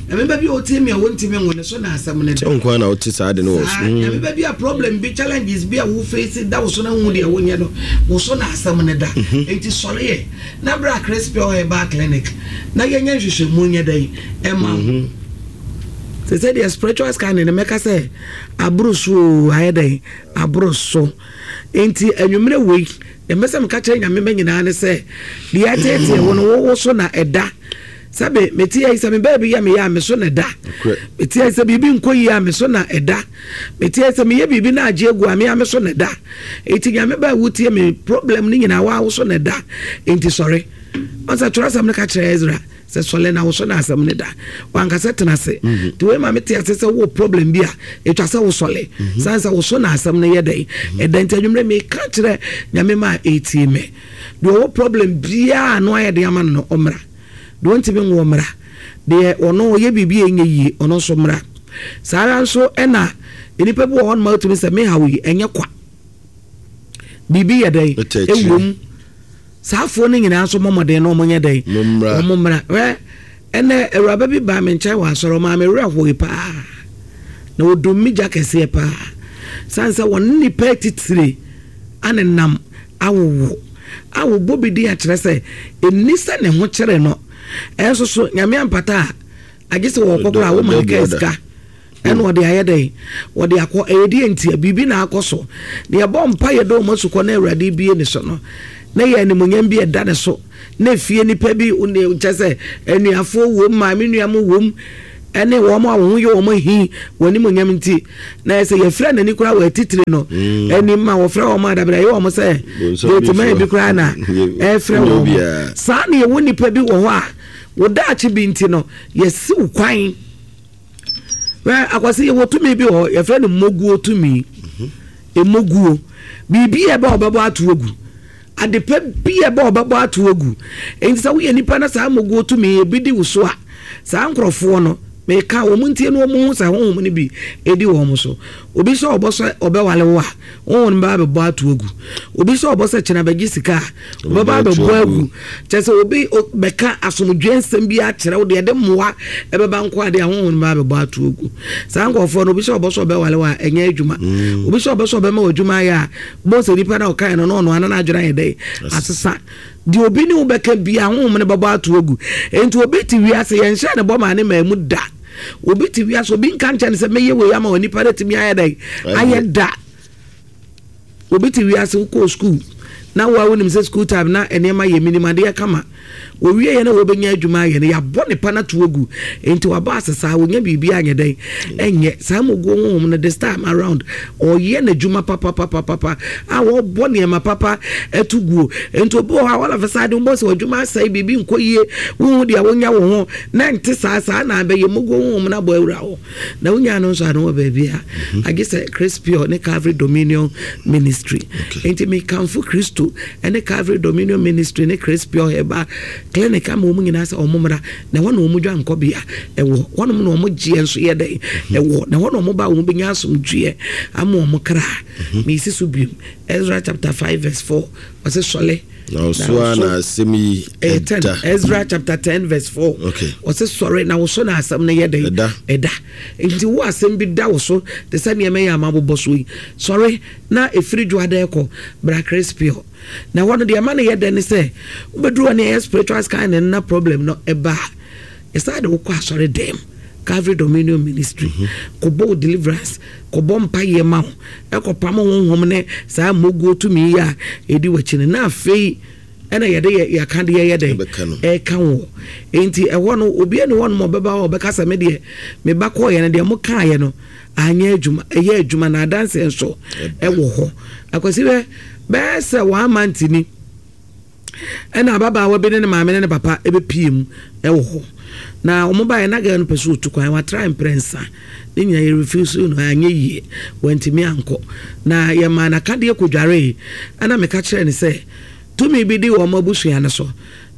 Nyame ba bi a wɔtie mi a wɔntumi nwo, ne so na asɛm no da. Sɛ nko ara na wote saa de no wɔ so. Saa Nyame ba bi a problem bi, challenges bi a wo face da wo so na hu deɛ wonyɛ no, wo so na asɛm no da. Enti sɔre yɛ na bra Crispy Herbal Clinic na yɛnyɛ nhwehwɛmu nyɛ dɛn ɛma wo. Sɛ sɛ deɛ spiritual scanning no, mɛka sɛ aboro so o, ayɛ dɛn aboro so. Enti anwummerɛ wei deɛ, mɛsɛ meka kyerɛ Nyame ma nyinaa ne sɛ deɛ ɛteetee wo no, wowo so na ɛda. Sɛbe mete yi sɛ me baabi yɛ meyɛ a, me so na ɛda. Nokorɛ. Mete yi sɛ biribi nkɔ yie a, me so na ɛda. Mete yi sɛ meyɛ biribi na agye agu a, me a me so na ɛda. Enti Nyame ba a wotie me, problem no nyinaa waa wo so na ɛda. Enti sɔre. Ɔsɛ twerɛsɛm no ka kyerɛ Ezra sɛ sɔle na wo so na asɛm no da, wankasɛ tena ase. Nti wei ma mete ase sɛ wowɔ problem bi a, ɛtwa sɛ wosɔle sane sɛ wo so na asɛm no yɛ dɛn? Ɛda. Nti anwummerɛ meka kyerɛ Nyame ma a ɛtie me, deɛ ɔwɔ problem biaa no ayɛ de ama no no, ɔmmra. Deɛ ɔntumi nwo, mmra. Deɛ ɔno ɔyɛ biribi a ɛnyɛ yie, ɔno nso mmra. Saa ara nso ɛna nnipa bi wɔ hɔ nom a wotumi sɛ mehaw yi ɛnyɛ kwa, biribi yɛ dɛn? Ɛtɛ akyire. Ɛwom. Saafoɔ no nyinaa nso mmɔmmɔden na ɔmo nyɛ dɛn? Mommra. Ɔmo mmra. Ɛ ɛnɛ awuraba bi baa me nkyɛn wɔ asɔre, ɔmaa me werɛ hoe paa na ɔdum me gya kɛseɛ paa sane sɛ wɔne nipa atitire ane nam awowo. a wɔbɔ bi di akyerɛ sɛ ɛnni sɛ ne ho kyerɛ no. Ɛnso so Nyame ampata a, agye sɛ wɔkɔ koraa a, woma no kaa sika ɛna ɔde ayɛ dɛn? Wɔde akɔ. Ɛyɛ deɛ ntia? Biribi na akɔ so. Na yɛbɔ mpa yɛ dɛ ɔma sukɔ na Awurade bie ne so no, na yɛ animonyam bi ɛda ne so, na efie nipa bi kyɛ sɛ anuafoɔ wom, maame nua mo wom, ɛne wɔn a wɔn ho yɛ wɔn ahi wɔn animonyam nti, na ɛsɛ yɛfrɛ n'ani koraa wɔ atitire no mm. anim ma wɔfrɛ wɔn adabere ɛyɛ wɔn sɛ deetima bi koraa na ɛfrɛ wɔn saa. Na yɛwɔ nipa bi wɔ hɔ a wɔdaakye bi nti no yɛsiw kwan. Wɛ Akwasi, yɛwɔ tumi bi wɔ hɔ yɛfrɛ no moguo tumi. Emoguo biribi a ɛbɛ ɔbɛbɔ ato agu, adepa bi a ɛbɛ ɔbɛbɔ ato agu. Nti sɛ woyɛ nipa na saa moguo tumi ebi di wo so a, saa nkurɔfoɔ no meka wɔn ntie no, wɔn ho sɛ honhom no bi edi wɔn so. Obi sɛ ɔbɔ sɛ ɔbɛwale wo a, honhom no bɛba abɛbɔ ato agu. Obi sɛ ɔbɔ sɛ kyena bɛgye sika a, ɔbɛba abɛbɔ agu. Kyɛ sɛ obi bɛka asomdwe nsɛm bi akyerɛ wo deɛ ɛde mmoa ɛbɛba nko adeɛ a, honhom no bɛba abɛbɔ ato agu. Saa nkurɔfoɔ no, obi sɛ ɔbɔ sɛ ɔbɛwale wo a, ɛnyɛ adwuma. Mm. Obi sɛ ɔbɔ sɛ ɔbɛma wɔ adwuma ayɛ a, bɔ sɛ nipa na ɔkae no na ɔno ana n'adwene ayɛ dɛ asesa. Deɛ obi ne wo bɛka bia, honhom no bɛbɔ ato agu. Enti obi te wiase, yɛnhyɛ ne bɔ maa ne maa mu da. Obi te wiase, obi nka nkyɛn sɛ mɛyɛ wei ama wɔ nipa no atumi ayɛ dɛn ayɛ da. Obi te wiase, wokɔɔ school na wo a wonim sɛ school time na nneɛma yɛ minim adeɛ kama, wɔwie yɛ na wɔbɛnya adwuma ayɛ no, yɛabɔ nipa no ato agu. Nti wabɔ ase saa, wɔnya biribi anyɛ dɛn ɛnyɛ saa moguo honhom no. This time around ɔyɛ n'adwuma papapapapa a wɔbɔ nneɛma papa ɛto guo. Nti obi wɔ hɔ a wɔlafa saa de wobɔ sɛ adwuma asɛe, biribi nkɔ yie, wohu deɛ wonya wo ho na nte saa saa na abɛyɛ moguo honhom no abɔ awura hɔ na wonya no nso ano wɔ baabi a agye sɛ Crispio ne Calvary Dominion Ministry. Nti mekamfo Kristo ne Calvary Dominion Ministry ne Crispio Herbal Clinic ama wɔn nyinaa sɛ wɔn mmra na ɛhɔ na wɔn dwa nkɔbea ɛwɔ hɔnom na wɔn gyeɛ nso yɛ dɛn ɛwɔ na ɛhɔ na wɔn ba wɔn bɛnya asomdwoeɛ ama wɔn kra. Meesi so biom, Ezra chapter five verse four, ɔsɛ sɔle na ɔso a na asɛm yi ɛda. Ezra chapter ten verse four. Okay. Ɔsɛ sɔre na wosɔ na asɛm no yɛ dɛn? Ɛda. Ɛda. Nti wo asɛm bi da wo so te sɛ nneɛma yi a mabobɔ so yi, sɔre na ɛfiri dwoada ɛkɔ bra Crispio. Na ɛhɔ no deɛ ɛma no yɛ dɛ ne sɛ wobɛduru hɔ ne ɛyɛ spiritual scan ne na problem no ɛba a, ɛsaa de wokɔ asɔre dɛm Calvary Dominion Ministry kɔbɔ wo deliverance, kɔbɔ mpayɛ ma wo, ɛkɔpam honhom ne saa mmoguo tumi yi a ɛdi w'akyi no, na afei ɛna yɛde yɛ yɛaka deɛ yɛ dɛn ɛka wɔ. Nti ɛhɔ no obi ani hɔ nom ɔbɛba hɔ ɔbɛka sɛ me deɛ meba kɔɔyɛ no deɛ mo kaayɛ no anyɛ adwuma. Ɛyɛ adwuma na adanseɛ nso ɛwɔ hɔ. Akwasi, bɛ bɛyɛ sɛ one month ni ɛna ababaawa bi ne ne maame ne ne papa ɛbɛpie mu ɛwɔ hɔ na wɔn baeɛ na girl no pɛ so otu kwan. Watra mprɛnsa ne nyinaa yɛ refuse no, anyɛ yie, wantumi ankɔ na yɛmaa n'akadeɛ kɔdwaree. Ɛna meka kyerɛ ne sɛ tumi bi di wɔn abusua no so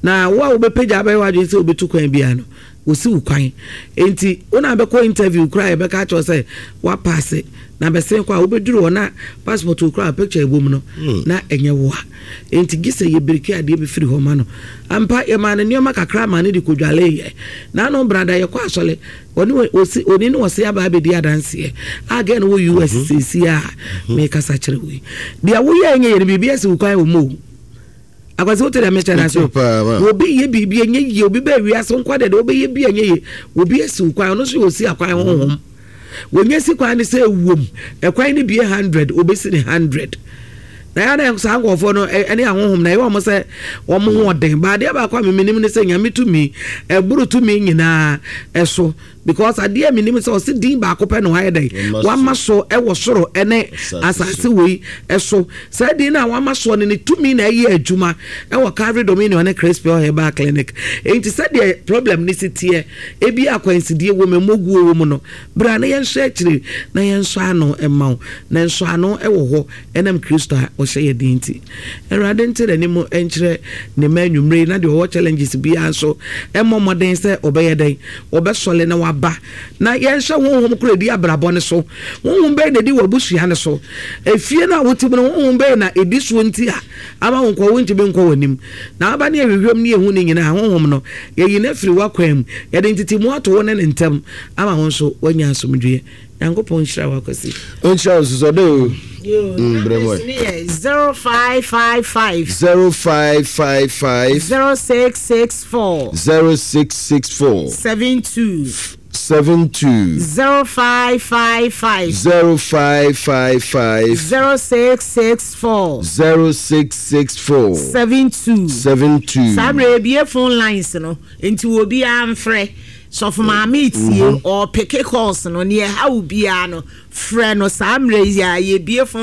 na wo a wobɛpagya abɛyɛ w'adwene sɛ wobɛtu kwan biara no, wɔsi wo kwan. Nti wo na bɛkɔ interview koraa, yɛbɛka akyerɛ sɛ woapaase na bɛsen kɔ a, wobɛduru hɔ na passport wo koraa picture ɛwɔ mu no na ɛnyɛ wo a. Nti gye sɛ yɛbiriki adeɛ bi firi hɔ ma no. Ampa, yɛmaa no nneɛma kakra ma no de kɔdwaleeɛ na ano brada yɛkɔ asɔle ɔne ɔsi ɔni ne ɔse aba abɛdi adanseɛ a gɛ no wɔ U S seesi a mekasa kyerɛ wo yi. Deɛ woyɛ nyɛ yɛ no, biribi asi wo kwan wɔ mu o. Akwasi, wote dɛ mekyɛ no ase? Obi yɛ biribi ɛnyɛ yie, obi bɛɛ wiase nkwa deɛ deɛ wobɛyɛ bi ɛnyɛ yie, obi asi wo kwan. Ɔno nso yɛ osi akwan honhom. Wɔnyɛ si kwan no sɛ ewom ɛkwan no bie hundred, obesi ne hundred na yɛ na saa nkurɔfoɔ no ɛne ahohom na ɛyɛ wɔn sɛ wɔn ho ɔden. Baadeɛ baako a memenim ne sɛ Nyame tumi ɛboro tumi nyinaa ɛso, because adeɛ a menim sɛ ɔsi din baako pɛ na wayɛ dɛ wama so ɛwɔ soro ɛne asase wei ɛso. Saa din no a wama soɔ no ne tumi na ɛyɛ adwuma ɛwɔ Calvary Dominion ne Crispio Herbal Clinic. Nti sɛdeɛ problem ne si teɛ, ebi akwansidie wɔ mu, emoguo wɔ mu no, bra na yɛnhwɛ akyire na yɛnsɔ ano ɛma wo, na nsɔ ano ɛwɔ hɔ ɛnam Kristo a ɔhyɛ yɛ den. Nti Awurade nte n'anim nkyerɛ ne ma anwummere na deɛ ɔwɔ challenges biara nso ɛmmɔ mmɔden sɛ ɔbɛyɛ dɛn ɔbɛsɔle na waba na yɛnhyɛ honhom koro edi abrabɔ ne so. Honhom bɛyɛ na edi wɔ abusua ne so, efie no a wote mu no, honhom bɛyɛ na edi soɔ nti a ama wo nkɔ wontumi nkɔ w'anim na aba ne ahwehwɛm ne ehu ne nyinaa. Honhom no yɛyi no afiri w'akwan mu, yɛde ntetemu ato wo ne ne ntam ama wo nso woanya asomdwoeɛ. Nyankopɔn nhyira wo, Akwasi. Ɔnhyira wo nso sɛ ɔdɛ o. Mm, brɛ mu ɛ. Zero five five five. Zero five five five. Zero six six four. Zero six six four. Seven two. Seven two. Zero five five five. Zero five five five. Zero six six four. Zero six six four. Seven two. Seven two. Saa mmerɛ ebie phone lines no nti wɔ obiara mfrɛ sɔfo maame tie ɔpeke calls no neɛ ɛha obiara no frɛ no saa mmerɛ yi a yɛbie phone.